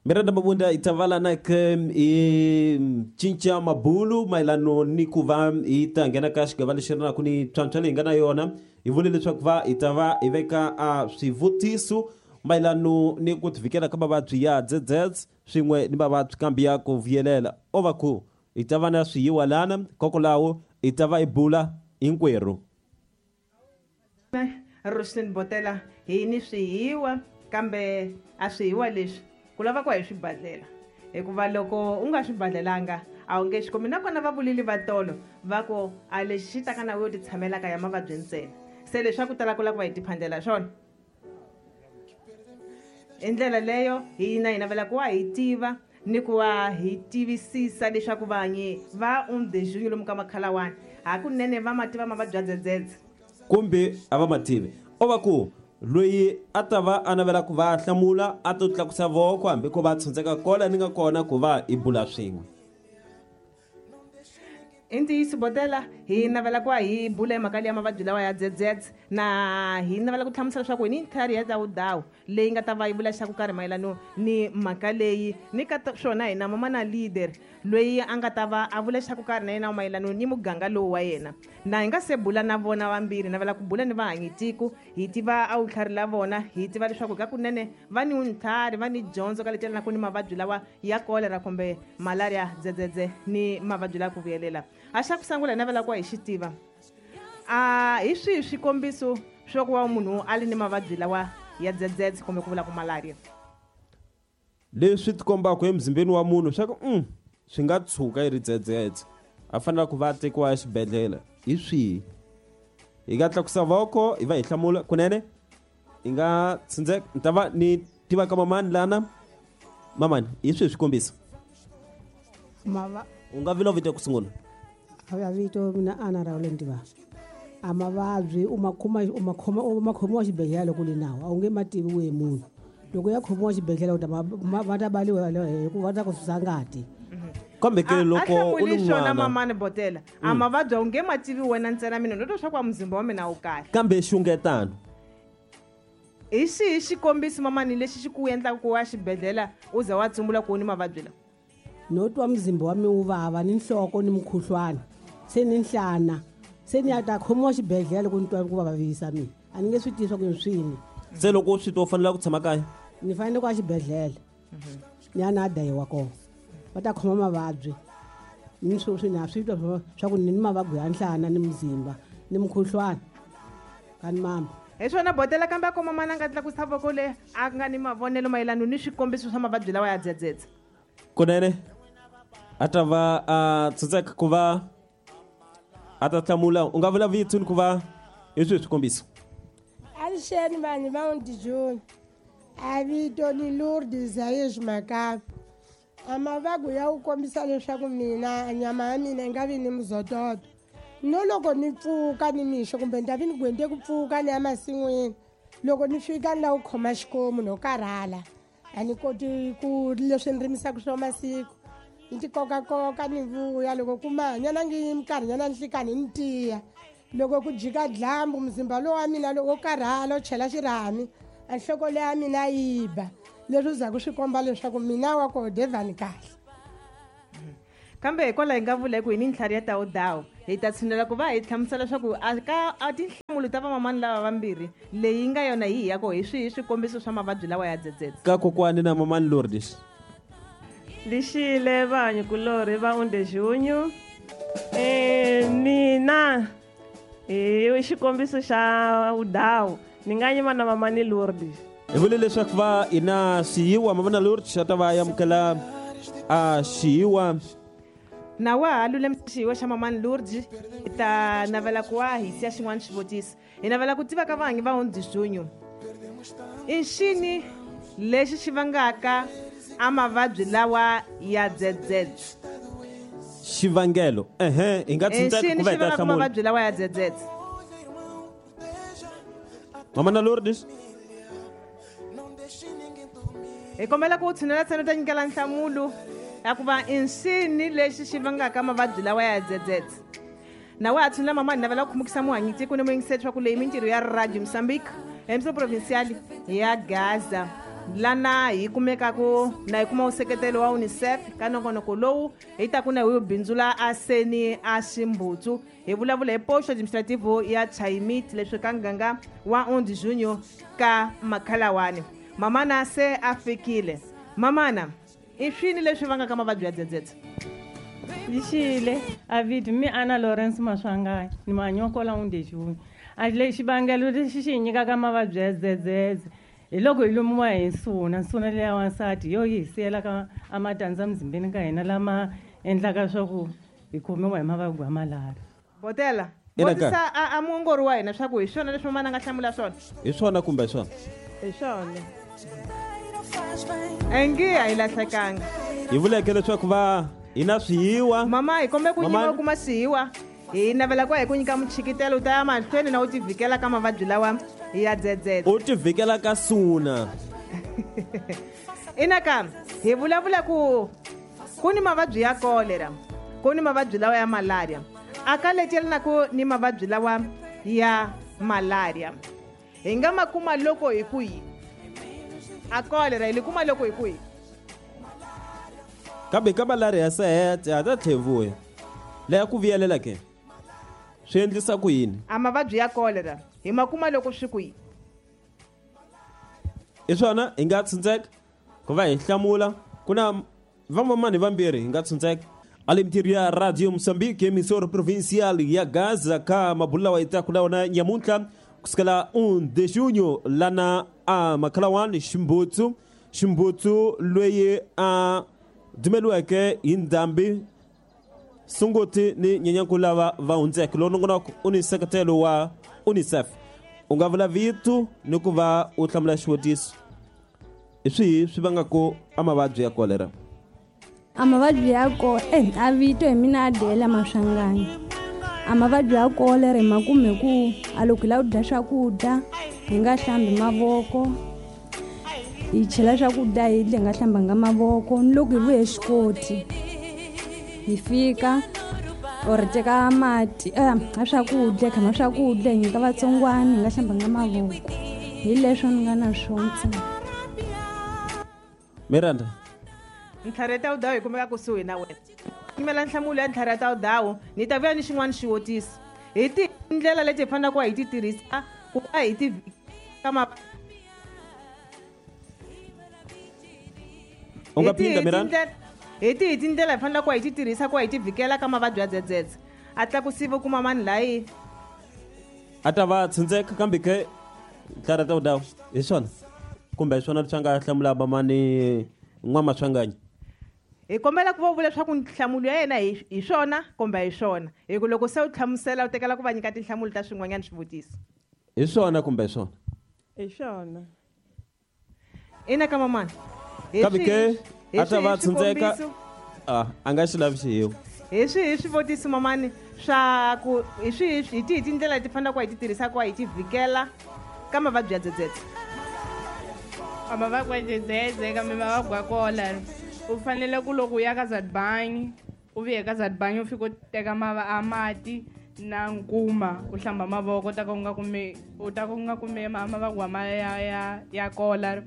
S1: Miranda Mabunda hi ta vala na ke hi cinca mabulu mayelano ni ku va hi ta nghena ka xigava lexi ri naku ni ntlhantlha leyi hi nga na yona. Hi vule leswaku va hi ta va hi veka a swivutiso mayelano ni ku tivikela ka mavabyi ya dzedzedze swin'we ni mavabyi kambe ya ku vuyelela. O va ku hi ta va na swiyiwa lana kokwalaho hi ta va hi bula hinkwerhu.
S2: Rosslyn Botela, hi ni swihiwa kambe a swihiwa leswi ku lava ku hi swibadlela, hikuva loko u nga swibadlelanga a wu nge swi kumi. Nakona va vulile va tolo va ku a lexi xi taka na yo ti tshamelaka ya mavabyi ntsena, se leswaku tala ku lava ku va hi tiphandela swona. Hi ndlela leyo hina hi navela ku wa hi tiva Ni ku va hi tivisisa leswaku vanyi va undejunyu lomu ka makhalawani hakunene va ma tiva mavabyi ya dzedzedze
S1: kumbe a va ma tivi. O va ku loyi a ta va a navela ku va hlamula a to tlakusa voko hambi ko va tshundzeka kola ni nga kona ku va hi bula swin'we.
S2: I ntiyiso Botela, hi navela ku va hi bula hi mhaka leyi ya mavabyi lawa ya dzedzedze, na hi navela ku hlamusela leswaku hi ni ntlhari ya dawudawu leyi nga ta va yi vula xa ku karhi mayelano ni mhaka leyi. Ni ka swona hina mama na leader loyi a nga ta va a vula xa ku karhi na yena mayelano ni muganga lowu wa yena. Na hi nga se bula na vona vambirhi, navela ku bula ni vahanyi tiko, hi tiva a vutlhari la vona, hi tiva leswaku ka kunene va ni ntlhari, va ni dyondzo ka leti yelanaka ni mavabyi lawa ya kolera kumbe malaria, dzedzedze ni mavabyi lawa ku vuyelela. A xa ku sungula hi navela ku va hi xi tiva, a hi swihi swikombiso swa ku va munhu a ri ni mavabyi lawa ya dzedzedze kumbe ku vula ku malaria?
S1: Leswi tikombaka emzimbeni wa munhu swa ku swi nga tshuka yi ri dzedzedze, a fanele ku va a tekiwa exibedhlele. Hi swihi? Hi nga tlakusa voko hi va hi hlamula kunene. Hi nga tshundzeka, ni ta va ni tiva ka mamani lana. Mamani, hi swihi swikombiso? U nga vila vito ku sungula?
S7: A vito mina Ana Raul Ntiva. A mavabyi u ma khoma, u ma khoma, u ma khomiwa xibedhlele loko u ri nawu, a wu nge ma tivi wehe munhu. Loko ya khomiwa xibedhlele u ta va ta baliwa hikuva va ta ku susa ngati.
S1: Kambe ke loko u ri
S2: swona mamani Botela, a mavabyi a wu nge ma tivi wena ntsena, mina no twa swa ku muzimba wa mina wu kahle.
S1: Kambe xungetano.
S2: Hi xihi xikombiso mamani lexi xi ku endlaka ku ya xibedhlele u za wa tsumbula ku u ni mavabyi lawa?
S7: No twa muzimba wa mina wu vava, ni nhloko ni mukhuhlwana, se ni nhlana, se ni ya ta khomiwa xibedhlele loko ni twa ku vavisa mina. A ni nge swi tivi swa ku i swini.
S1: Se loko u swi twa u fanele ku tshama kaya?
S7: Ni fanele ku ya xibedhlele. Ni ya na dayiwa kona. Va ta khoma mavabyi. Ni swi na swi twa swa ku ni ni mavabyi ya nhlana ni muzimba ni mukhuhlwana. Ka ni mama.
S2: Hi swona Botela, kambe a kuma mana a nga tlakusa voko le a nga ni mavonelo mayelana ni swikombiso swa mavabyi lawa ya dzedzedze.
S1: Kunene a ta va a tshundzeka ku va a ta hlamula. U nga vula vito ni ku va hi swihi swikombiso?
S8: Avuxeni vanhu va Undijuni. A vito ni Lourdes Zayesh Makabi. A mavabyi ya ku kombisa leswaku mina nyama ya mina yi nga vi ni muzototo. No loko ni pfuka ni mixo kumbe ni ta vi ni gwende ku pfuka ni ya masin'wini, loko ni fika ni lava ku khoma xikomu no karhala, a ni koti ku leswi ni rimisaka swo masiku, ni ti kokakoka ni vuya. Loko ku mahanyana ngi minkarhinyana nhlikani ni tiya. Loko ku jika dyambu muzimba lowu wa mina loko wo karhala u chela xirhami, a nhloko leya mina yi ba. Leswi zaku swi komba leswaku mina wa ko devani kahle.
S2: Kambe hikwalaho hi nga vula ku hi ni ntlhari ya dawudawu, hi ta tshinela ku va hi hlamusela leswaku a ka a tinhlamulo ta vamamani lava vambirhi leyi nga yona hi ya ko hi swihi swikombiso swa mavabyi lawa ya dzedzedze.
S1: Ka kokwani na mamani Lourdes.
S9: Lixile vanhu kulorhi va Undejunyu. Mina hi xikombiso xa vudawu ni nga yima na mamani Lourdes.
S1: Hi vule leswaku va hi na xiyiwa mamani Lourdes a ta va amukela a xiyiwa.
S2: Na wa ha lulamisa xiyiwa xa mamani Lourdes, hi ta navela ku wa hi siya xin'wana xivutiso. Hi navela ku tiva ka vahanyi va Undejunyu, i xini lexi xi vangaka a mavabyi lawa ya dzedzedze?
S1: Xivangelo, hi nga tshuntseka
S2: Xini
S1: ku va hi
S2: xi
S1: ta
S2: vangaka
S1: hlamula.
S2: mavabyi lawa ya dzedzedze?
S1: Mamana Lourdes.
S2: Hi kombela ku tshinela ntsena u ta nyikela nhlamulo ya ku va i nsini lexi xi vangaka mavabyi lawa ya dzedzedze. Na wa ha tshinela mama, hi navela ku khumukisa muhanyi tiko ni muyingiseri swa ku leyi mintirho ya Radio Mozambique emisava provincial ya Gaza, lana hi kumekaku na hi kuma nseketelo wa UNICEF ka nongonoko lowu hi taku na hi wu bindzula a seni a Ximbutsu. Hi vulavula hi posto administrativo ya Chaimit leswi ka nganga wa Undijunyu ka Makhalawani. Mamana se a fikile. Mamana, i swini leswi vangaka mavabyi ya dzedzedze?
S9: Lixile a vito mi Ana Lawrence Maswanganyi ni manyokola Undejunyu. A le xivangelo lexi xi hi nyikaka mavabyi ya dzedzedze hi loko hi lumiwa hi nsuna, nsuna leya wansati yo yi hi siyelaka a matandza muzimbeni ka hina lama endlaka swa ku hi khomiwa hi mavabyi ya malaria.
S2: Botela,
S1: Ina
S2: vutisa a muongori wa hina swa ku hi swona leswi mamana a nga hlamula swona?
S1: Hi swona kumbe hi swona?
S9: Hi swona.
S2: Engi a yi lahlekanga.
S1: Hi vuleke leswaku va hi na swihiwa.
S2: Mama, hi kombe ku nyika u kuma swihiwa. Hi navela ku hi ku nyika muchikitelo u ta ya mahlweni na u tivhikela ka mavabyi lawa ya dzedzedze.
S1: U tivhikela ka suna.
S2: Ina ka hi vulavula ku ku ni mavabyi ya kolera, ku ni mavabyi lawa ya malaria. A ka leteli na ku ni mavabyi lawa ya malaria. Hi nga ma kuma loko hi ku yi. A kolera hi li kuma loko hi ku yi.
S1: Kambe ka malaria se ha ta tlhevuya. Leya ku vuyelela ke? Swi endlisa ku yini?
S2: A mavabyi ya kolera hi ma kuma loko swi ku yi.
S1: I swona hi nga tshuntseka ku va hi hlamula ku na vamamani vambirhi hi nga tshuntseka alimtirho ya Radio Mozambique emissora provincial ya Gaza ka mabulu lawa hi taku na wona nyamuntlha kusukela 1 de junho lana a makhalawani Ximbutsu Ximbutsu loyi a dumeliweke hi ndhambi Sunguti ni Nyenyankulu lava va hundzeke. Lowu nongonoko u ni nseketelo wa UNICEF. U nga vula vito ni ku va u hlamula xivutiso. Hi swihi swi vangaka a mavabyi ya kolera?
S10: A mavabyi ya eh, a vito hi mina Adela Maswanganyi. A mavabyi ya kolera hi ma kume ku a loko hi lava ku dya swakudya hi nga hlambi mavoko, hi chela swakudya hi dya hi nga hlambanga mavoko, ni loko hi vuye xikoti hi fika or teka mati a swakudya khama swakudya hi nyika vatsongwana hi nga hlambanga mavoko. Hi leswo ni nga na swona ntsena.
S1: Miranda.
S2: Ntlhari ya Tawudawu yi kumeka kusuhi na wena. Yimela nhlamulo ya ntlhari ya Tawudawu, ni ta vuya ni xin'wana xivutiso. Hi tihi tindlela leti hi faneleke hi ti tirhisa ku va hi ti ka ma
S1: U nga phinda Miranda?
S2: Hi tihi tindlela hi faneleke hi ti tirhisa ku va hi ti vhikela ka mavabyi ya dzedzedze? A tlakusiwe ku mamani layi.
S1: A ta va tshundzeka kambe ke ntlhari ya Tawudawu hi swona kumbe hi swona leswi a nga hlamula mamani N'wamaswanganyi.
S2: Hi kombela ku va u vula leswaku nhlamulo ya yena hi hi swona kumbe a hi swona, hi ku loko se u hlamusela u tekela ku va nyika tinhlamulo ta swin'wanyana swivutiso.
S1: Hi swona kumbe a hi swona?
S11: Hi swona.
S2: Ina ka mamana.
S1: Hi Kambe ke a ta va tshundzeka a a nga xi lavi xihiwa.
S2: Hi swihi swivutiso mamani swa ku hi swihi hi tihi tindlela leti faneleke hi ti tirhisa ku va hi ti vhikela ka mavabyi ya dzedzedze?
S11: A mavabyi ya dzedzedze kambe mavabyi ya kola u fanele ku loko u ya ka Zadbanyi u vuye ka Zadbanyi u fika u teka a mati na nkuma u hlamba mavoko u ta ka u nga kumi u ta ka u nga kumi mavabyi ma ya ya ya kola.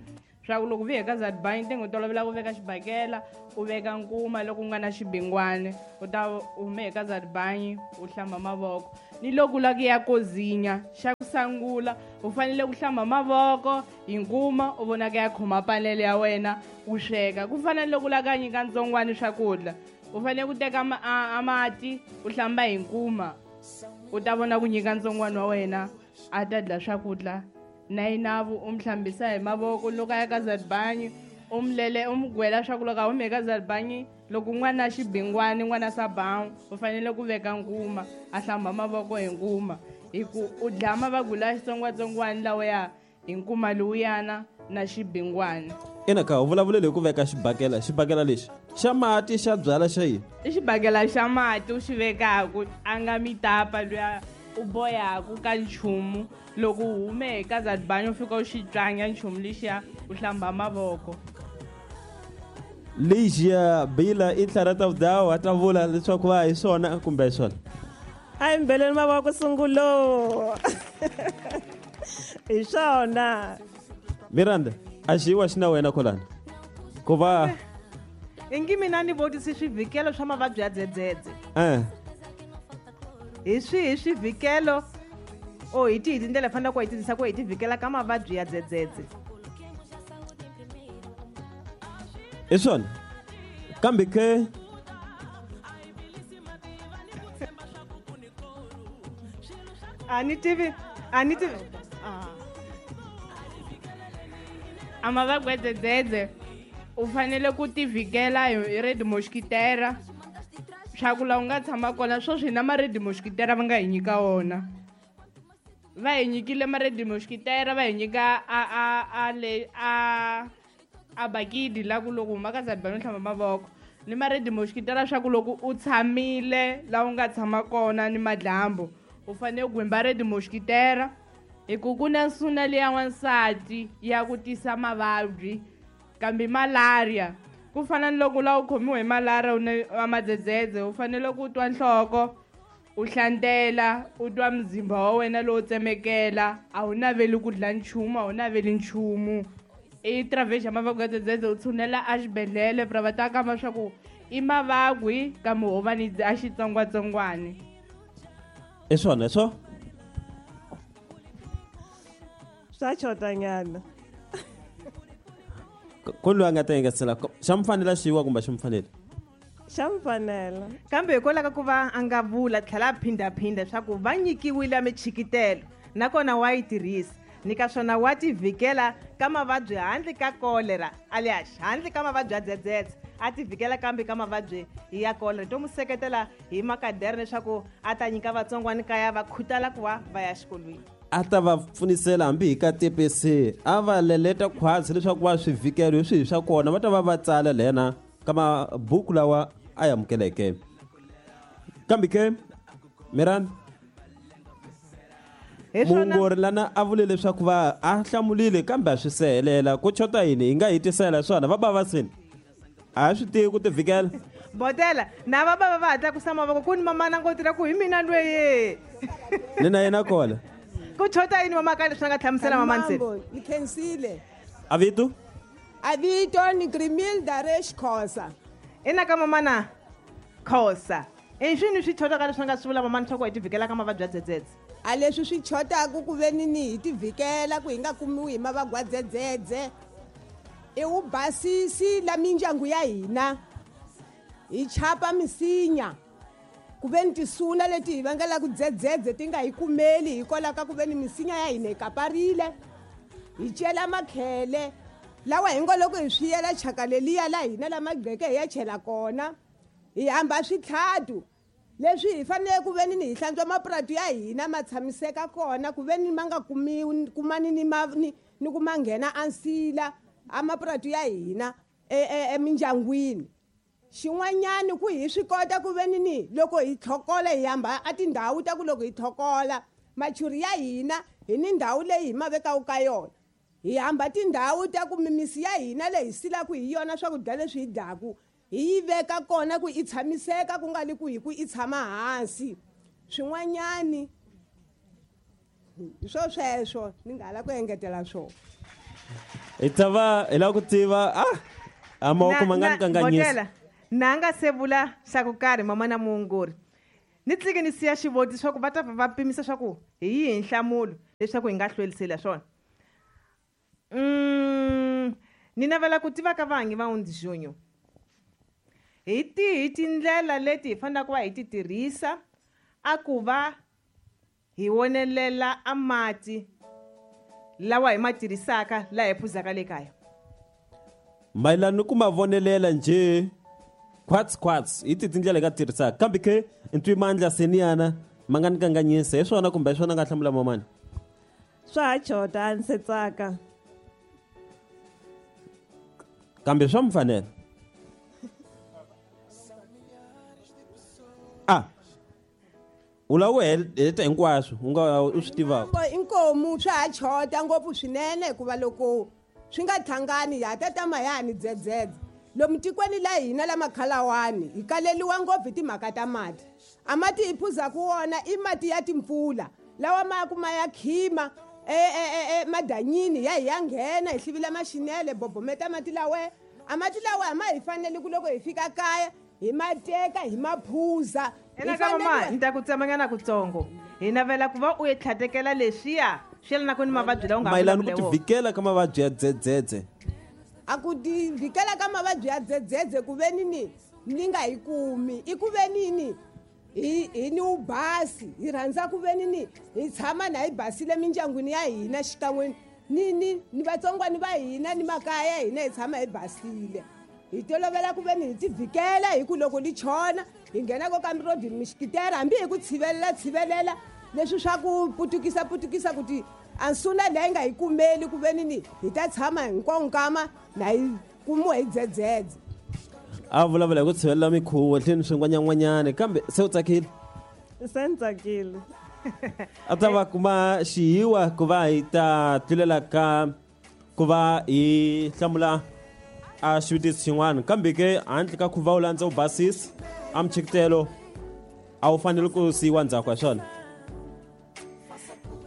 S11: Swa ku loko u vuye ka Zadbanyi tenge u tolovela ku veka xibakela u veka nkuma loko u nga na xibingwani u ta u hume ka Zadbanyi u hlamba mavoko. Ni loko u lava ku ya kozinya xa ku sangula u fanele ku hlamba mavoko hi nkuma u vona ku ya khoma panele ya wena u sweka. Ku fana ni loko u lava ku ya nyika ntsongwani swakudya u fanele ku teka a mati u hlamba hi nkuma u ta vona ku nyika ntsongwani wa wena a ta dya swakudya. Na yinavu u mi hlambisa hi mavoko loko a ya ka Zadbanyi u mi lele u mi gwela swa ku loko a hume ka Zadbanyi loko n'wana xibingwani n'wana sabawu u fanele ku veka nkuma a hlamba mavoko hi nkuma hi ku u dlaya mavabyi la xitsongwatsongwana lawaya hi nkuma lowuyana na xibingwani.
S1: Ina ka u vulavulele hi ku veka xibakela xibakela lexi xa mati xa byala xa yini?
S11: I xibakela xa mati u xi vekaku a nga mitapa luya u boyaku ka nchumu loko u hume ka Zadbanyi u fika u xi tswanya nchumu lexiya u hlamba mavoko.
S1: Ligia Bila i ntlhari ta vudawu a ta vula leswaku va hi swona kumbe hi swona.
S11: A hi mbeleni mavoko sungulo. Hi swona.
S1: Miranda, a xiwa xi na wena kolana. Ku va
S2: ingi mina ni vutisi swivhikelo swa mavabyi ya dzedzedze. Hi swihi swivhikelo o hi tihi tindlela hi faneleke ku hi tirhisa ku hi tivhikela ka mavabyi ya dzedzedze?
S1: Hi swona kambe ke
S2: a ni tivi a ni tivi
S11: a mavabyi ya dzedzedze u fanele ku tivhikela hi red mosquitera swa ku la u nga tshama kona sweswi na ma-red mosquitera va nga hi nyika wona. Va hi nyikile ma-red mosquitera va hi nyika a a a le a A bakidi la ku loko huma ka zadibani u hlamba mavoko ni ma-red mosquitera swa ku loko u tshamile la u nga tshama kona ni madlambu u fanele ku gwimba red mosquitera hi ku ku na nsuna leya wansati ya ku tisa mavabyi kambe malaria ku fana ni loko la u khomiwe hi malaria u ne madzedzedze u fanele ku twa nhloko u hlantela u twa mzimba wa wena lowu tsemekela a wu naveli ku dla nchumu a wu naveli nchumu i travexa ya mavabyi ya dzedzedze u tshunela exibedhlele pra va ta kamba swa ku i mavabyi kambe ho va ni a xitsongwatsongwani
S1: i swona swo
S12: swa xotanyana
S1: ko loyi a nga ta engetela xa mi fanela xiwa kumbe xi mi fanele
S12: xa mi fanela
S2: kambe hikwalaho ka ku va a nga vula tlhela a phindhaphindha leswaku va nyikiwile michikitelo nakona wa yi tirhisa ni ka swona wa tivhikela ka mavabyi handle ka kolera alias handle ka mavabyi ya dzedzedze a tivhikela kambe ka mavabyi ya kolera to n'wi seketela hi makadere leswaku a ta nyika vatsongwani kaya va khutala ku va va ya xikolweni
S1: a ta va pfunisela hambi hi ka TPC a va leleta khwatsi leswaku va swivikelo hi swihi swa kona va ta va va tsala lena ka mabuku lawa a ya amukeleke kambe ke mirani muongori lana a vule leswaku va a hlamulile kambe a swi sehelela ku chota yini hi nga hi tisela swona va bava sini a swi tivi ku tivikela
S2: botela na va bava va hatla ku sama mavoko ku ni mamana ngoti ra ku hi mina lweye
S1: ni na yena kona
S2: ku chota yini mama ka leswi a nga hlamusela mamani se
S8: ni khensile
S1: a vito
S8: a vito ni Grimilda Resh Khosa
S2: ina ka mamana Khosa i swini swi chotaka leswi a nga swi vula mamani swa ku hi tivhikela ka mavabyi ya dzedzedze
S8: a leswi swi chotaku ku ve ni ni hi tivhikela ku hi nga kumiwi hi mavabyi ya dzedzedze i wu basisi la mindyangu ya hina hi chapa misinya ku ve ni tisuna leti hi vangelaka dzedzedze ti nga hi kumeli hikwalaho ka ku ve ni misinya ya hina hi kaparile hi cela makhele lawa hi ngo loko hi swi yela chaka leliya la hina lama gqeke hi ya chela kona hi hamba switlhatu leswi hi fanele ku ve ni hi hlantswa mapurati ya hina ma tshamiseka kona ku ve ni ma nga kumiwi kumani ni ma ni ni ku ma nghena ansila a mapurati ya hina emindyangwini xin'wanyani ku hi swi kota ku ve ni ni loko hi tlhokola hi hamba a tindhawu ta ku loko hi tlhokola machuri ya hina hi ni ndhawu leyi hi ma vekaka ka yona hi hamba tindhawu ta ku mimisi ya hina leyi hi silaka hi yona swakudya leswi hi dyaku hi yi veka kona ku i tshamiseka ku nga li ku hi ku i tshama hansi swin'wanyani hi swo sweswo ni nga la ku engetela swona
S1: hi ta va hi lava ku tiva a mavoko ma nga ni kanganyisa
S2: na nga se vula xa ku karhi mama na muongori ni tlike ni siya xivoti swa ku va ta va pimisa swa ku hi yihi nhlamulo leswaku hi nga hlwelisela swona ni navela ku tiva ka vangi va undzijunyo hi tihi tindlela leti hi fanelaka ku va hi ti tirhisa a ku va hi wonelela a mati lawa hi ma tirhisaka laha hi phuzaka le kaya
S1: mayelana ni ku ma vonelela njhe khwats khwats hi ti tindlela hi nga tirhisaka kambe ke ntwimandla seniyana ma nga ni kanganyisa hi swona kumbe hi swona nga hlamula mamani
S12: swa ha chota a ni se tsaka
S1: kambe swa mi fanela a u lava ku heta hinkwaswo u nga u swi tivaka
S8: inkomu swa ha chota ngopfu swinene hikuva loko swi nga tlhangani ha ta tama ya ha ni dzedzedze lomu tikweni la hina la makhalawani hi kaleliwa ngopfu hi timhaka ta mati a mati hi phuzaku wona i mati ya timpfula lawa ma ku ma ya khima madanyini ya hi ya nghena hi hlivila maxinele bobometa mati lawe a mati lawa a ma hi faneli ku loko hi fika kaya hi ma teka hi ma phuza
S2: ena ka mama ni ta ku tsemanyana kutsongo hi navela ku va u yi tlhatekela leswiya swi yelanaka ni mavabyi lawa u nga
S1: mayelana ku tivhikela ka mavabyi ya dzedzedze
S8: a ku tivhikela ka mavabyi ya dzedzedze ku ve nini ni nga hi kumi i ku ve nini hi ni wubasi hi rhandza ku ve nini hi tshama na hi basile mindyangwini ya hina xikan'we ni ni ni vatsongwani va hina ni makaya ya hina hi tshama hi basile hi tolovela ku ve ni hi tivhikela hi ku loko li chona hi nghena ko kambirodini mixikitera hambi hi ku tshivelela tshivelela leswi swa ku putukisa putukisa ku ti ansuna leyi nga hi kumeli ku ve ni ni hi ta tshama hinkwawo nkama na hi Kumiwa hi dzedzedze.
S1: A vulavula hi ku tshivelela mikhuvo hleni swin'wanyan'wanyani, kambe se u tsakile?
S12: Se ni tsakile.
S1: A ta va kuma xihiwa ku va hi ta tlulela ka ku va hi hlamula a xivutiso xin'wana, kambe ke handle ka ku va u landza u basisa a michikitelo a wu fanele ku siyiwa ndzhaku ka swona.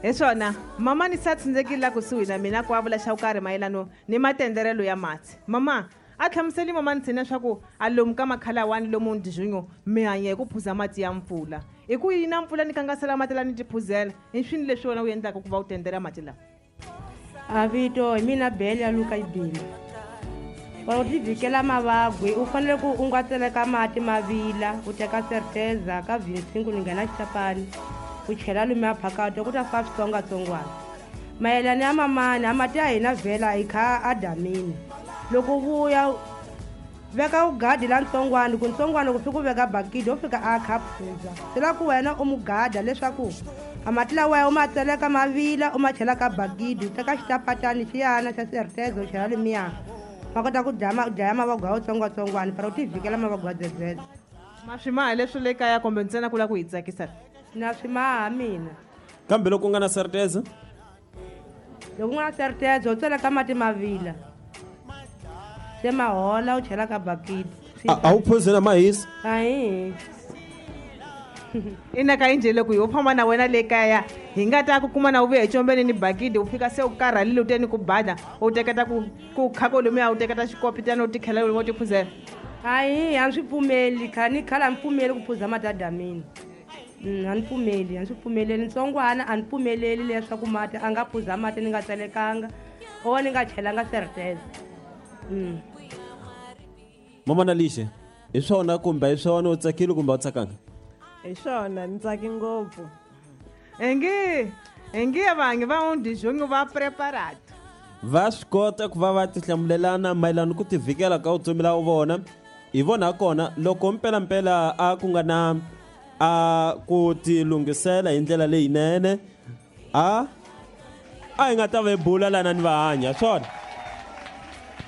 S2: Hi swona, mama ni sa tshundzekile la kusuhi na mina ku a vula xa ku karhi mayelano ni matenderelo ya mati. Mama a hlamuseli mama ni tshina swa ku a lomu ka makhalawani lomu ndijunyo mi hanya hi ku phuza mati ya mpfula. Hi ku yina mpfula ni kangasela mati la ni ti phuzela, i swini leswi wena u endlaka ku va u tendela mati lawa?
S13: A vito hi mina Bele ya Luka Ibini. Wa u tivhikela mavabyi, u fanele ku u nga tseleka mati ma vila, u teka serteza ka vinsingu ni nghena xitapani, u chela lumiya phakathi ku ta fa switsongwatsongwana. Mayelana ya mamani, a mati ya hina vhela hi kha a damini. Loko u vuya veka ugadi la ntsongwana, ku ntsongwana ku fika u veka bakiti u fika a kha phuza. Swi lava ku wena u mugada leswaku a mati lawa u ma tseleka ma vila u ma chela ka bakiti, u teka xitapatani xiyana xa serteza u chela lemiya. Ma kota ku dlaya mavabyi ya vutsongwatsongwana para u tivhikela mavabyi ya dzedzedze.
S2: Ma swi maha leswi le kaya kumbe ntsena ku lava ku hi tsakisa?
S13: Na swi maha mina.
S1: Kambe loko u nga na serteza?
S13: Loko u nga na serteza u tseleka mati ma vila. Se ma hola u chela ka bakiti.
S1: A wu phuzi na mahisa?
S13: Ahi.
S2: Ina ka injhe loko ho famba na wena le kaya hi nga ta ku kuma na u vuya hi combeni ni bakiti, u fika se u karhalile u te ni ku bada, u teketa ku khako lomuya, u teketa xikopitana u tikhela lomu u tiphuzela.
S13: Ahi, a swi pfumeli, ni khale a ni pfumeli ku phuza mati ya damini. A ni pfumeli, a ni swi pfumeleli. Ntsongwana a ni pfumeleli leswaku mati a nga phuza mati ni nga tselekanga o ni nga chelanga serteza.
S1: Mama na Lixe, hi swona kumbe hi swona u tsakile kumbe a wu tsakanga?
S12: Hi swona, ni tsaki ngopfu.
S2: Ingi vanhu va undizhongi va preparado.
S1: Va swi kota ku va va tihlamulelana mayelana ku tivikela ka vutomi la vona. Hi vona kona loko mpelampela a ku nga na a ku tilunghisela hi ndlela leyinene, a hi nga ta va hi bula lana ni va hanya swona.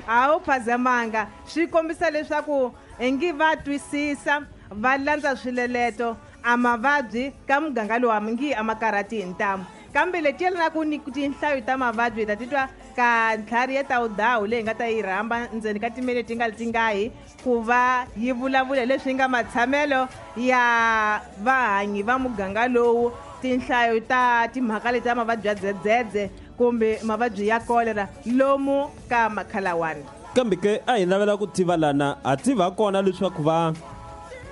S2: A wu phazamanga, swi kombisa leswaku ingi va twisisa, va landza swileleto a mavabyi ka muganga lowu a ngi a ma karhati hi ntamu. Kambe leti yelanaka ni tinhlayo ta mavabyi hi ta titwa ka ntlhari ya tawudawu leyi nga ta yi rhamba ndzeni ka timinete ti nga ri tingahi ku va yi vulavula leswi nga matshamelo ya vahanyi va muganga lowu, tinhlayo ta timhaka leti ta mavabyi ya dzedzedze kumbe mavabyi ya kolera lomu ka makhalawani.
S1: Kambe ke a hi lavela ku tiva lana, ha tiva kona leswaku va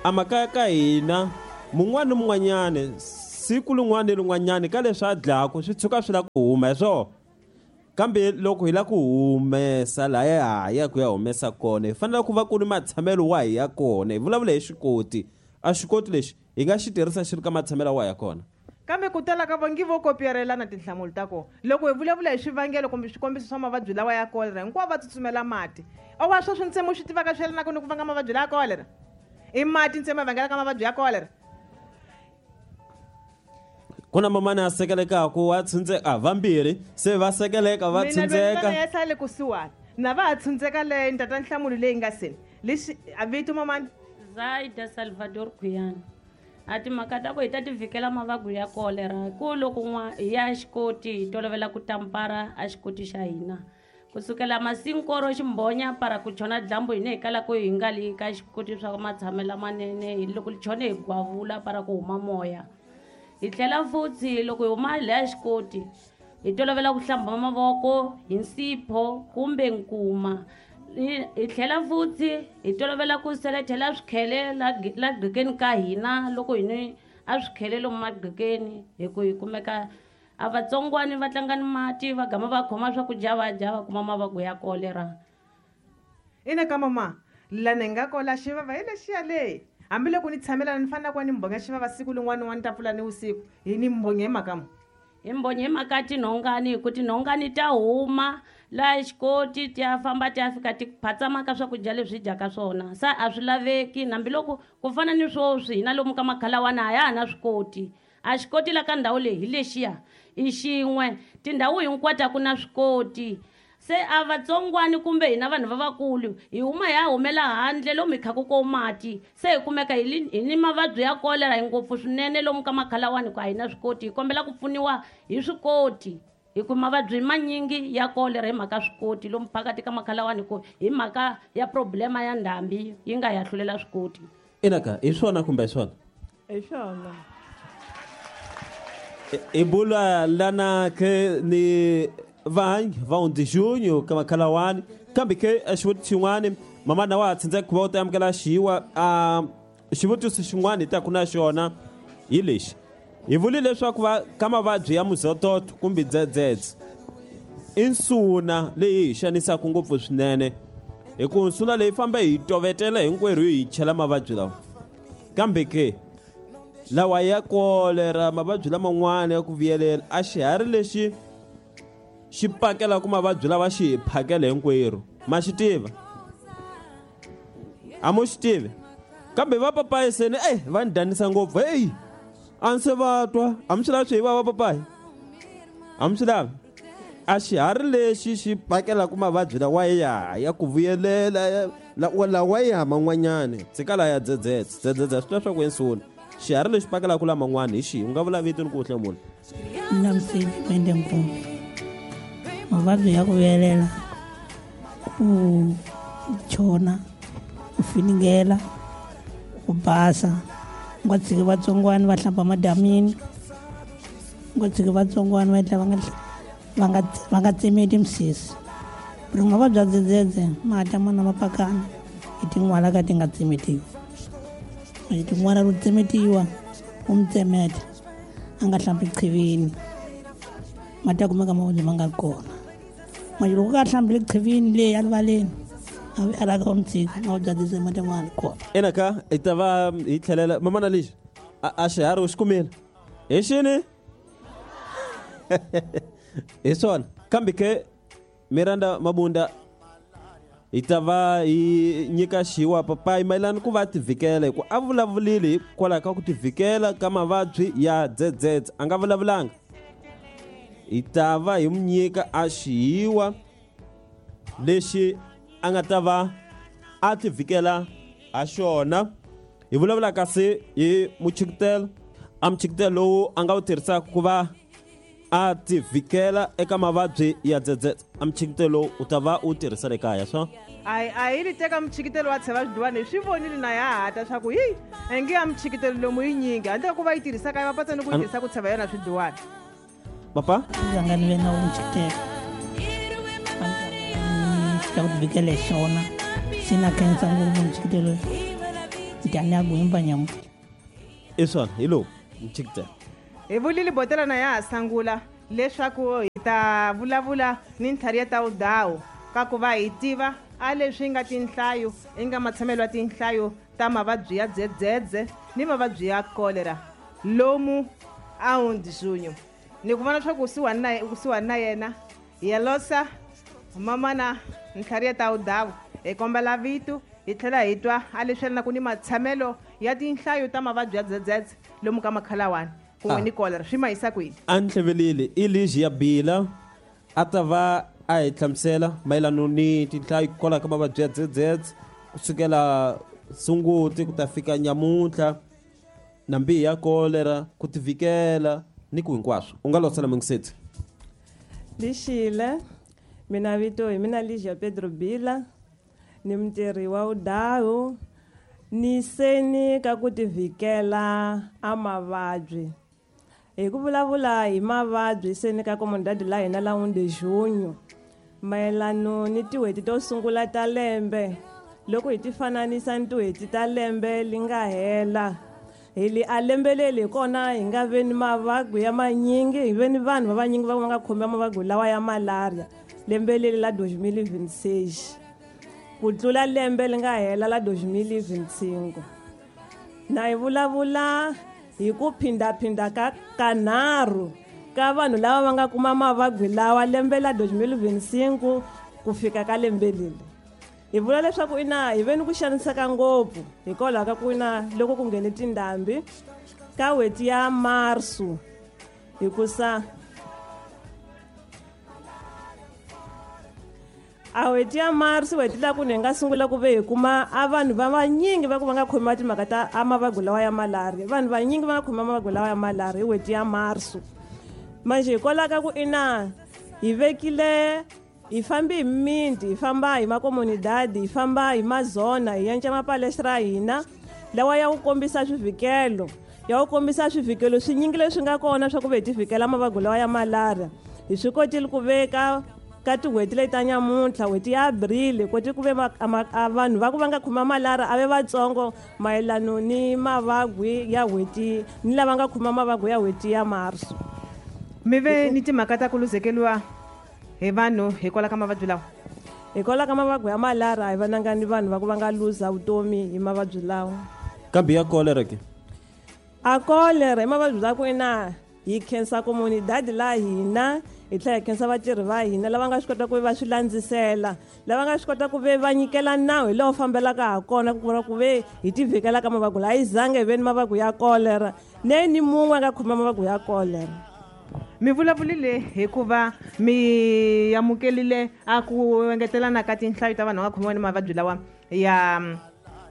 S1: a makaya ka hina mun'wana ni mun'wanyani siku lin'wana ni lin'wanyani ka leswi a dlaku swi tshuka swi lava ku huma hi swona. Kambe loko hi lava ku humesa laha hi ya ku ya humesa kona, hi fanele ku va ku ri matshamelo wahi ya kona. Hi vulavula hi xikoti, a xikoti lexi hi nga xi tirhisa xi ri ka matshamelo wahi ya kona.
S2: Kambe ku tala ka vongi vo kopiyarelana tinhlamulo ta kona. Loko hi vulavula hi swivangelo kumbe swikombiso swa mavabyi lawa ya kolera, hinkwavo va tsutsumela mati. Owa sweswi ntsena swi tivaka swi yelanaka ni ku vanga mavabyi lawa ya kolera? I mati ntsena ma vangelaka mavabyi ya kolera?
S1: Ku na mamani a sekelekaka wa tshundzeka, vambirhi se va sekeleka va
S2: Mina loyi
S1: tshundzeka.
S2: ni ya sale kusuhani na va ha tshundzeka leyi ni tata nhlamulo leyi nga seni. Lexi a vito mamani?
S14: Zaida Salvador Khuyana. A timhaka ta ku hi ta ti vhikela mavabyi ya kolera, ku loko n'wa hi ya xikoti hi tolovela ku tampara a xikoti xa hina. Kusukela masinkoro ximbhonya para ku chona dyambu hina hi kala ku hi nga li ka xikoti swa matshamelo manene, hi loko li chone hi gwavula para ku huma moya. Hi tlhela futhi loko hi huma laya xikoti hi tolovela ku hlamba mavoko hi nsipho kumbe nkuma. Hi tlhela futhi hi tolovela ku selethela swikhele la gqekeni ka hina loko hi ni a swikhele lomu magqekeni, hi ku hi kumeka a vatsongwani va tlanga ni mati va gama va khoma swakudya va dya va kuma mavabyi ya kolera.
S2: Ina ka mama, la ni nga kola xivava hi lexiya leyi. Hambiloko ni tshamelana ni fanele ku va ni mbhonya xivava siku lin'wana ni n'wana ni ta pfula ni vusiku, hi ni mbhonya hi mhaka muni?
S14: Hi mbhonya hi mhaka tinhongani, hi ku tinhongani ta huma laha xikoti ti ya famba ti ya fika ti phatsama ka swakudya leswi hi dyaka swona. Se a swi laveki, hambiloko ku fana ni sweswi hina lomu ka makhalawana a ya ha na swikoti. A xikoti la ka ndhawu leyi hi lexiya i xin'we, tindhawu hinkwato a ku na swikoti. Se a vatsongwani kumbe hina vanhu lavakulu hi huma hi ya humela handle lomu hi khaku ko mati, se hi kumeka hi ni mavabyi ya kolera hi ngopfu swinene lomu ka makhalawani ku a hi na swikoti. Hi kombela ku pfuniwa hi swikoti, hi ku mavabyi manyingi ya kolera hi mhaka swikoti lomu phakati ka makhalawani, ku hi mhaka ya problema ya ndhambi yi nga ya hlulela swikoti.
S1: Inaka hi swona kumbe hi swona?
S12: Hi swona.
S1: Hi bula lana ke ni vanhu va hundzi ka makhalawani, kambe ke xivutiso xin'wani mamana wa ha tsandzeka ku va u ta amukela xiwa. A xivutiso xin'wana hi taku na xona hi lexi: hi vule leswaku va ka mavabyi ya muzototo kumbe dzedzedze i nsuna leyi hi xanisaka ngopfu swinene, hi ku nsuna leyi famba hi tovetela hinkwerhu hi chela mavabyi lawa. Kambe ke lawa ya kolera, mavabyi laman'wana ya ku vuyelela, a xiharhi lexi xi pakelaka mavabyi lawa xi hi phakela hinkwerhu, ma xi tiva? A mu xi tivi? Kambe va papayi seni va ni danisa ngopfu. Heyi, a ndzi se va twa. A mi swi lavi swi hi va va papayi? A mi swi lavi? A xiharhi lexi xi pakelaka mavabyi lawa ya ku vuyelela lawa ya man'wanyani, tshika la ya dzedzedze dzedzedze swi tiva swa ku ensuna. Xiharhi lexi pakelaka laman'wana hi xihi? U nga vula vito ni ku hlamula.
S15: Mina Msibi Mende Nkumbi. Mavabyi ya ku vuyelela, ku chona, ku finingela, ku basa, u nga tshiki vatsongwana va hlamba madamini, u nga tshiki vatsongwana va endla va nga tsemeti misisi. Ri mavabyi ya dzedzedze ma ta mana mapakana hi tin'wala ka ti nga tsemetiwi. Hi tin'wala ro tsemetiwa, u mi tsemeta a nga hlambi qhivini, ma ta kumeka mavabyi ma nga ri kona. Manje loko ka hlambile qhivini leyi erivaleni, a vi alaka wa mutshika mavabyi ya dzedzedze ma ta ma ri kona.
S1: Enaka hi ta va hi tlhelela mamana lexi a xiharhi u xi kumile hi xini? Hi swona. Kambe ke Miranda Mabunda, hi ta va hi nyika xiwa papayi mayelana ku va tivikela, hi ku a vulavulile hikwalaho ka ku tivikela ka mavabyi ya dzedzedze, a nga vulavulanga. Hi ta va hi mu nyika a xihiwa lexi a nga ta va a tivikela ha xona. Hi vulavula kasi hi muchikitelo, a muchikitelo lowu a nga wu tirhisaka ku va a tivikela eka mavabyi ya dzedzedze. A muchikitelo lowu u ta va u tirhisa le kaya swa?
S2: A hi li teka muchikitelo wa tsheva swiduwani, hi swi vonile na ya hata swa ku hi nge ya muchikitelo lomu yi nyingi handle ka ku va yi tirhisa kaya, va patsa ni ku yi tirhisa ku tsheva yona swiduwani.
S1: Papa?
S15: Ndzi ni ve na muchikitelo ka ku tivikela hi xona, se na khensa ngopfu muchikitelo njhani ya gwimba nyamuntlha.
S1: I swona, hi lowu muchikitelo.
S2: Hi vulile botela na ya ha sangula leswaku hi ta vulavula ni ntlhari ya tawudawu ka ku va hi tiva a leswi nga tinhlayo i nga matshamelo ya tinhlayo ta mavabyi ya dzedzedze ni mavabyi ya kolera lomu a hundzunyu. Ni ku vona leswaku kusuhani na yena Yelosa mamana ntlhari ya tawudawu, hi kombela vito hi tlhela hi twa a leswi yelanaku ni matshamelo ya tinhlayo ta mavabyi ya dzedzedze lomu ka makhalawani kun'we ni kolera swi ma yisa kwini.
S1: A ni hlevelile i lexi ya bila a ta va a hi hlamusela mayelano ni tinhlayo kwalaho ka mavabyi ya dzedzedze kusukela sunguti ku ta fika nyamuntlha, na mbihi ya kolera, ku tivikela ni ku hinkwaswo. U nga losela mungiseti.
S12: Lixile, mina vito hi mina Ligia Pedro Bila, ni mutirhi wa udahu, ni seni ka ku tivikela a mavabyi. Hi ku vulavula hi mavabyi seni ka komondadi la hina la Undejunyu, mayelano ni tin'hweti to sungula ta lembe, loko hi ti fananisa ni tin'hweti ta lembe li nga hela, hi li a lembe leri hi kona hi nga ve ni mavabyi ya manyingi, hi ve ni vanhu va vanyingi va nga khomiwa mavabyi lawa ya malaria lembe leri la 2026 ku tlula lembe li nga hela la 2025. Na hi vulavula hi ku phindaphinda ka kanharhu ka vanhu lava va nga kuma mavabyi lawa lembe la 2025 ku fika ka lembe leri. Hi vula leswaku ina hi ve ni ku xaniseka ngopfu hikwalaho ka ku ina loko ku nghene tindhambi ka n'hweti ya Marsu, hikusa A n'hweti ya Marsi n'hweti laha ku ni hi nga sungula ku ve hi kuma a vanhu va vanyingi va ku va nga khomiwa timhaka ta a mavabyi lawa ya malaria. Vanhu vanyingi va nga khomiwa mavabyi lawa ya malaria hi n'hweti ya Marsi. Manje hikwalaho ka ku ina hi vekile hi fambi hi mimiti, hi famba hi makomunidadi, hi famba hi mazona, hi yenca mapalestra ya hina lawa ya ku kombisa swivhikelo, ya ku kombisa swivhikelo swinyingi leswi nga kona swa ku ve hi tivhikela mavabyi lawa ya malaria. Hi swi kotile ku veka ka tin'hweti leti ta nyamuntlha, n'hweti ya April, hi kote ku ve vanhu va ku va nga khoma malaria a ve vatsongo mayelano ni mavabyi ya n'hweti ni lava nga khoma mavabyi ya n'hweti ya Marso.
S2: Mi ve ni timhaka ta ku luzekeriwa hi vanhu hikwalaho ka mavabyi lawa?
S12: Hikwalaho ka mavabyi ya malaria a hi vonanga ni vanhu va ku va nga luza vutomi hi mavabyi lawa.
S1: Kambe ya cholera ke?
S12: A cholera i mavabyi la ku ina hi khensa comunidade la hina, hi tlhela hi khensa vatirhi va hina lava nga swi kota ku va swi landzisela, lava nga swi kota ku ve va nyikela nawu hi lowu fambelaka ha kona ku vona ku ve hi tivhikela ka mavabyi lawa. A yi zange hi ve ni mavabyi ya cholera, ne ni mun'we a nga khoma mavabyi ya cholera.
S2: Mi vulavurile hikuva mi amukelile a ku engetelana ka tinhlayo ta vanhu va nga khomiwa ni mavabyi lawa ya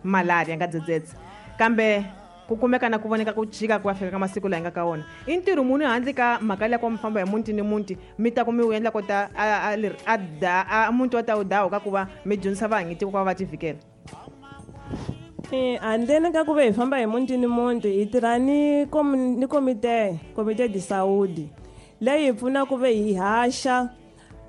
S2: malaria nga dzedzedze, kambe ku kumeka na ku voneka ku chika ku ya fika ka masiku laha hi nga ka wona. I ntirho muni handle ka mhaka liya ku mi famba hi muti ni muti mi ta ku mi wu endla kota a muti wa ta wu dawu ka ku va mi dyondzisa vahanyitiko ku va va tivhikela?
S12: Handleni ka ku ve hi famba hi muti ni muti, hi tirha ni ni komite, komite de saúde leyi hi pfuna ku ve hi haxa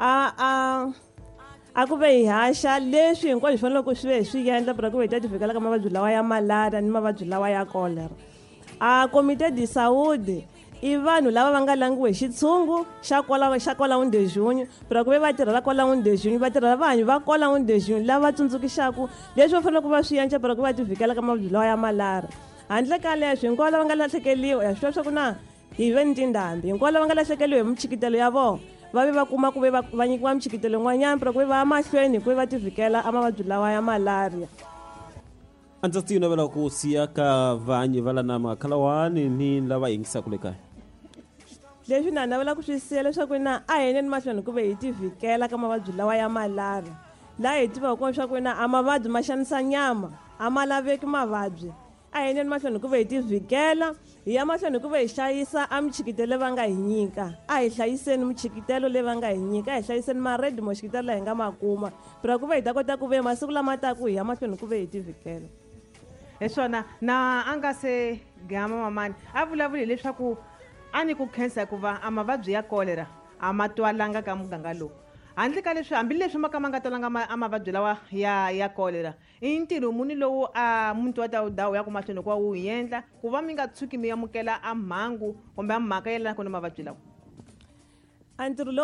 S12: a ku ve hi haxa leswi hinkwaswo hi faneleke ku swi ve hi swi endla ku ve hi ta tivhikela ka mavabyi lawa ya malaria ni mavabyi lawa ya cholera. A komite de saúde i vanhu lava va nga langiwa hi xitshungu xa kwala, xa kwala Undejunyu, ku ve va tirhela kwala Undejunyu, va tirhela vanhu va kwala Undejunyu lava tsundzukixaku leswi va faneleke va swi endla ku va tivhikela ka mavabyi lawa ya malaria. Handle ka leswi, hinkwavo lava nga lahlekeriwa, ya swi tiva swa ku na hi ve ni tindhambi, hinkwavo lava nga lahlekeriwa hi michikitelo ya vona va ve va kuma ku ve va nyikiwa michikitelo yin'wanyana ku ve va ya mahlweni ku ve va tivhikela a mavabyi lawa ya malaria.
S1: A ndzi ti navela ku siya ka vanyi va lana makhalawani ni lava yingisaka le kaya.
S12: Leswi na navela ku swi siya leswaku na a hi yeni mahlweni ku ve hi tivhikela ka mavabyi lawa ya malaria. Laha hi tivaka kona leswaku na a mavabyi ma xanisa nyama, a ma laveki mavabyi. A hi yeni mahlweni ku ve hi tivhikela, hi ya mahlweni ku ve hi hlayisa a michikitelo leyi va nga hi nyika. A hi hlayiseni michikitelo leyi va nga hi nyika, a hi hlayiseni ma-red moxikitelo laha hi nga ma kuma, pra ku ve hi ta kota ku ve masiku lama taka hi ya mahlweni ku ve hi tivhikela.
S2: Hi swona, na a nga se gama mamani a vulavuli hileswaku a ni ku khensa hikuva a mavabyi ya cholera a ma twalanga ka muganga lowu. Handle ka leswi, hambileswi ma ka ma nga twalanga a mavabyi lawa ya cholera, i ntirho muni lowu a muti wa ta wu dawu ya ku mahlweni hikuva wu hi endla ku va mi nga tshuki mi amukela a mhangu kumbe a mhaka yelanaka ni mavabyi lawa?
S12: A ntirho lowu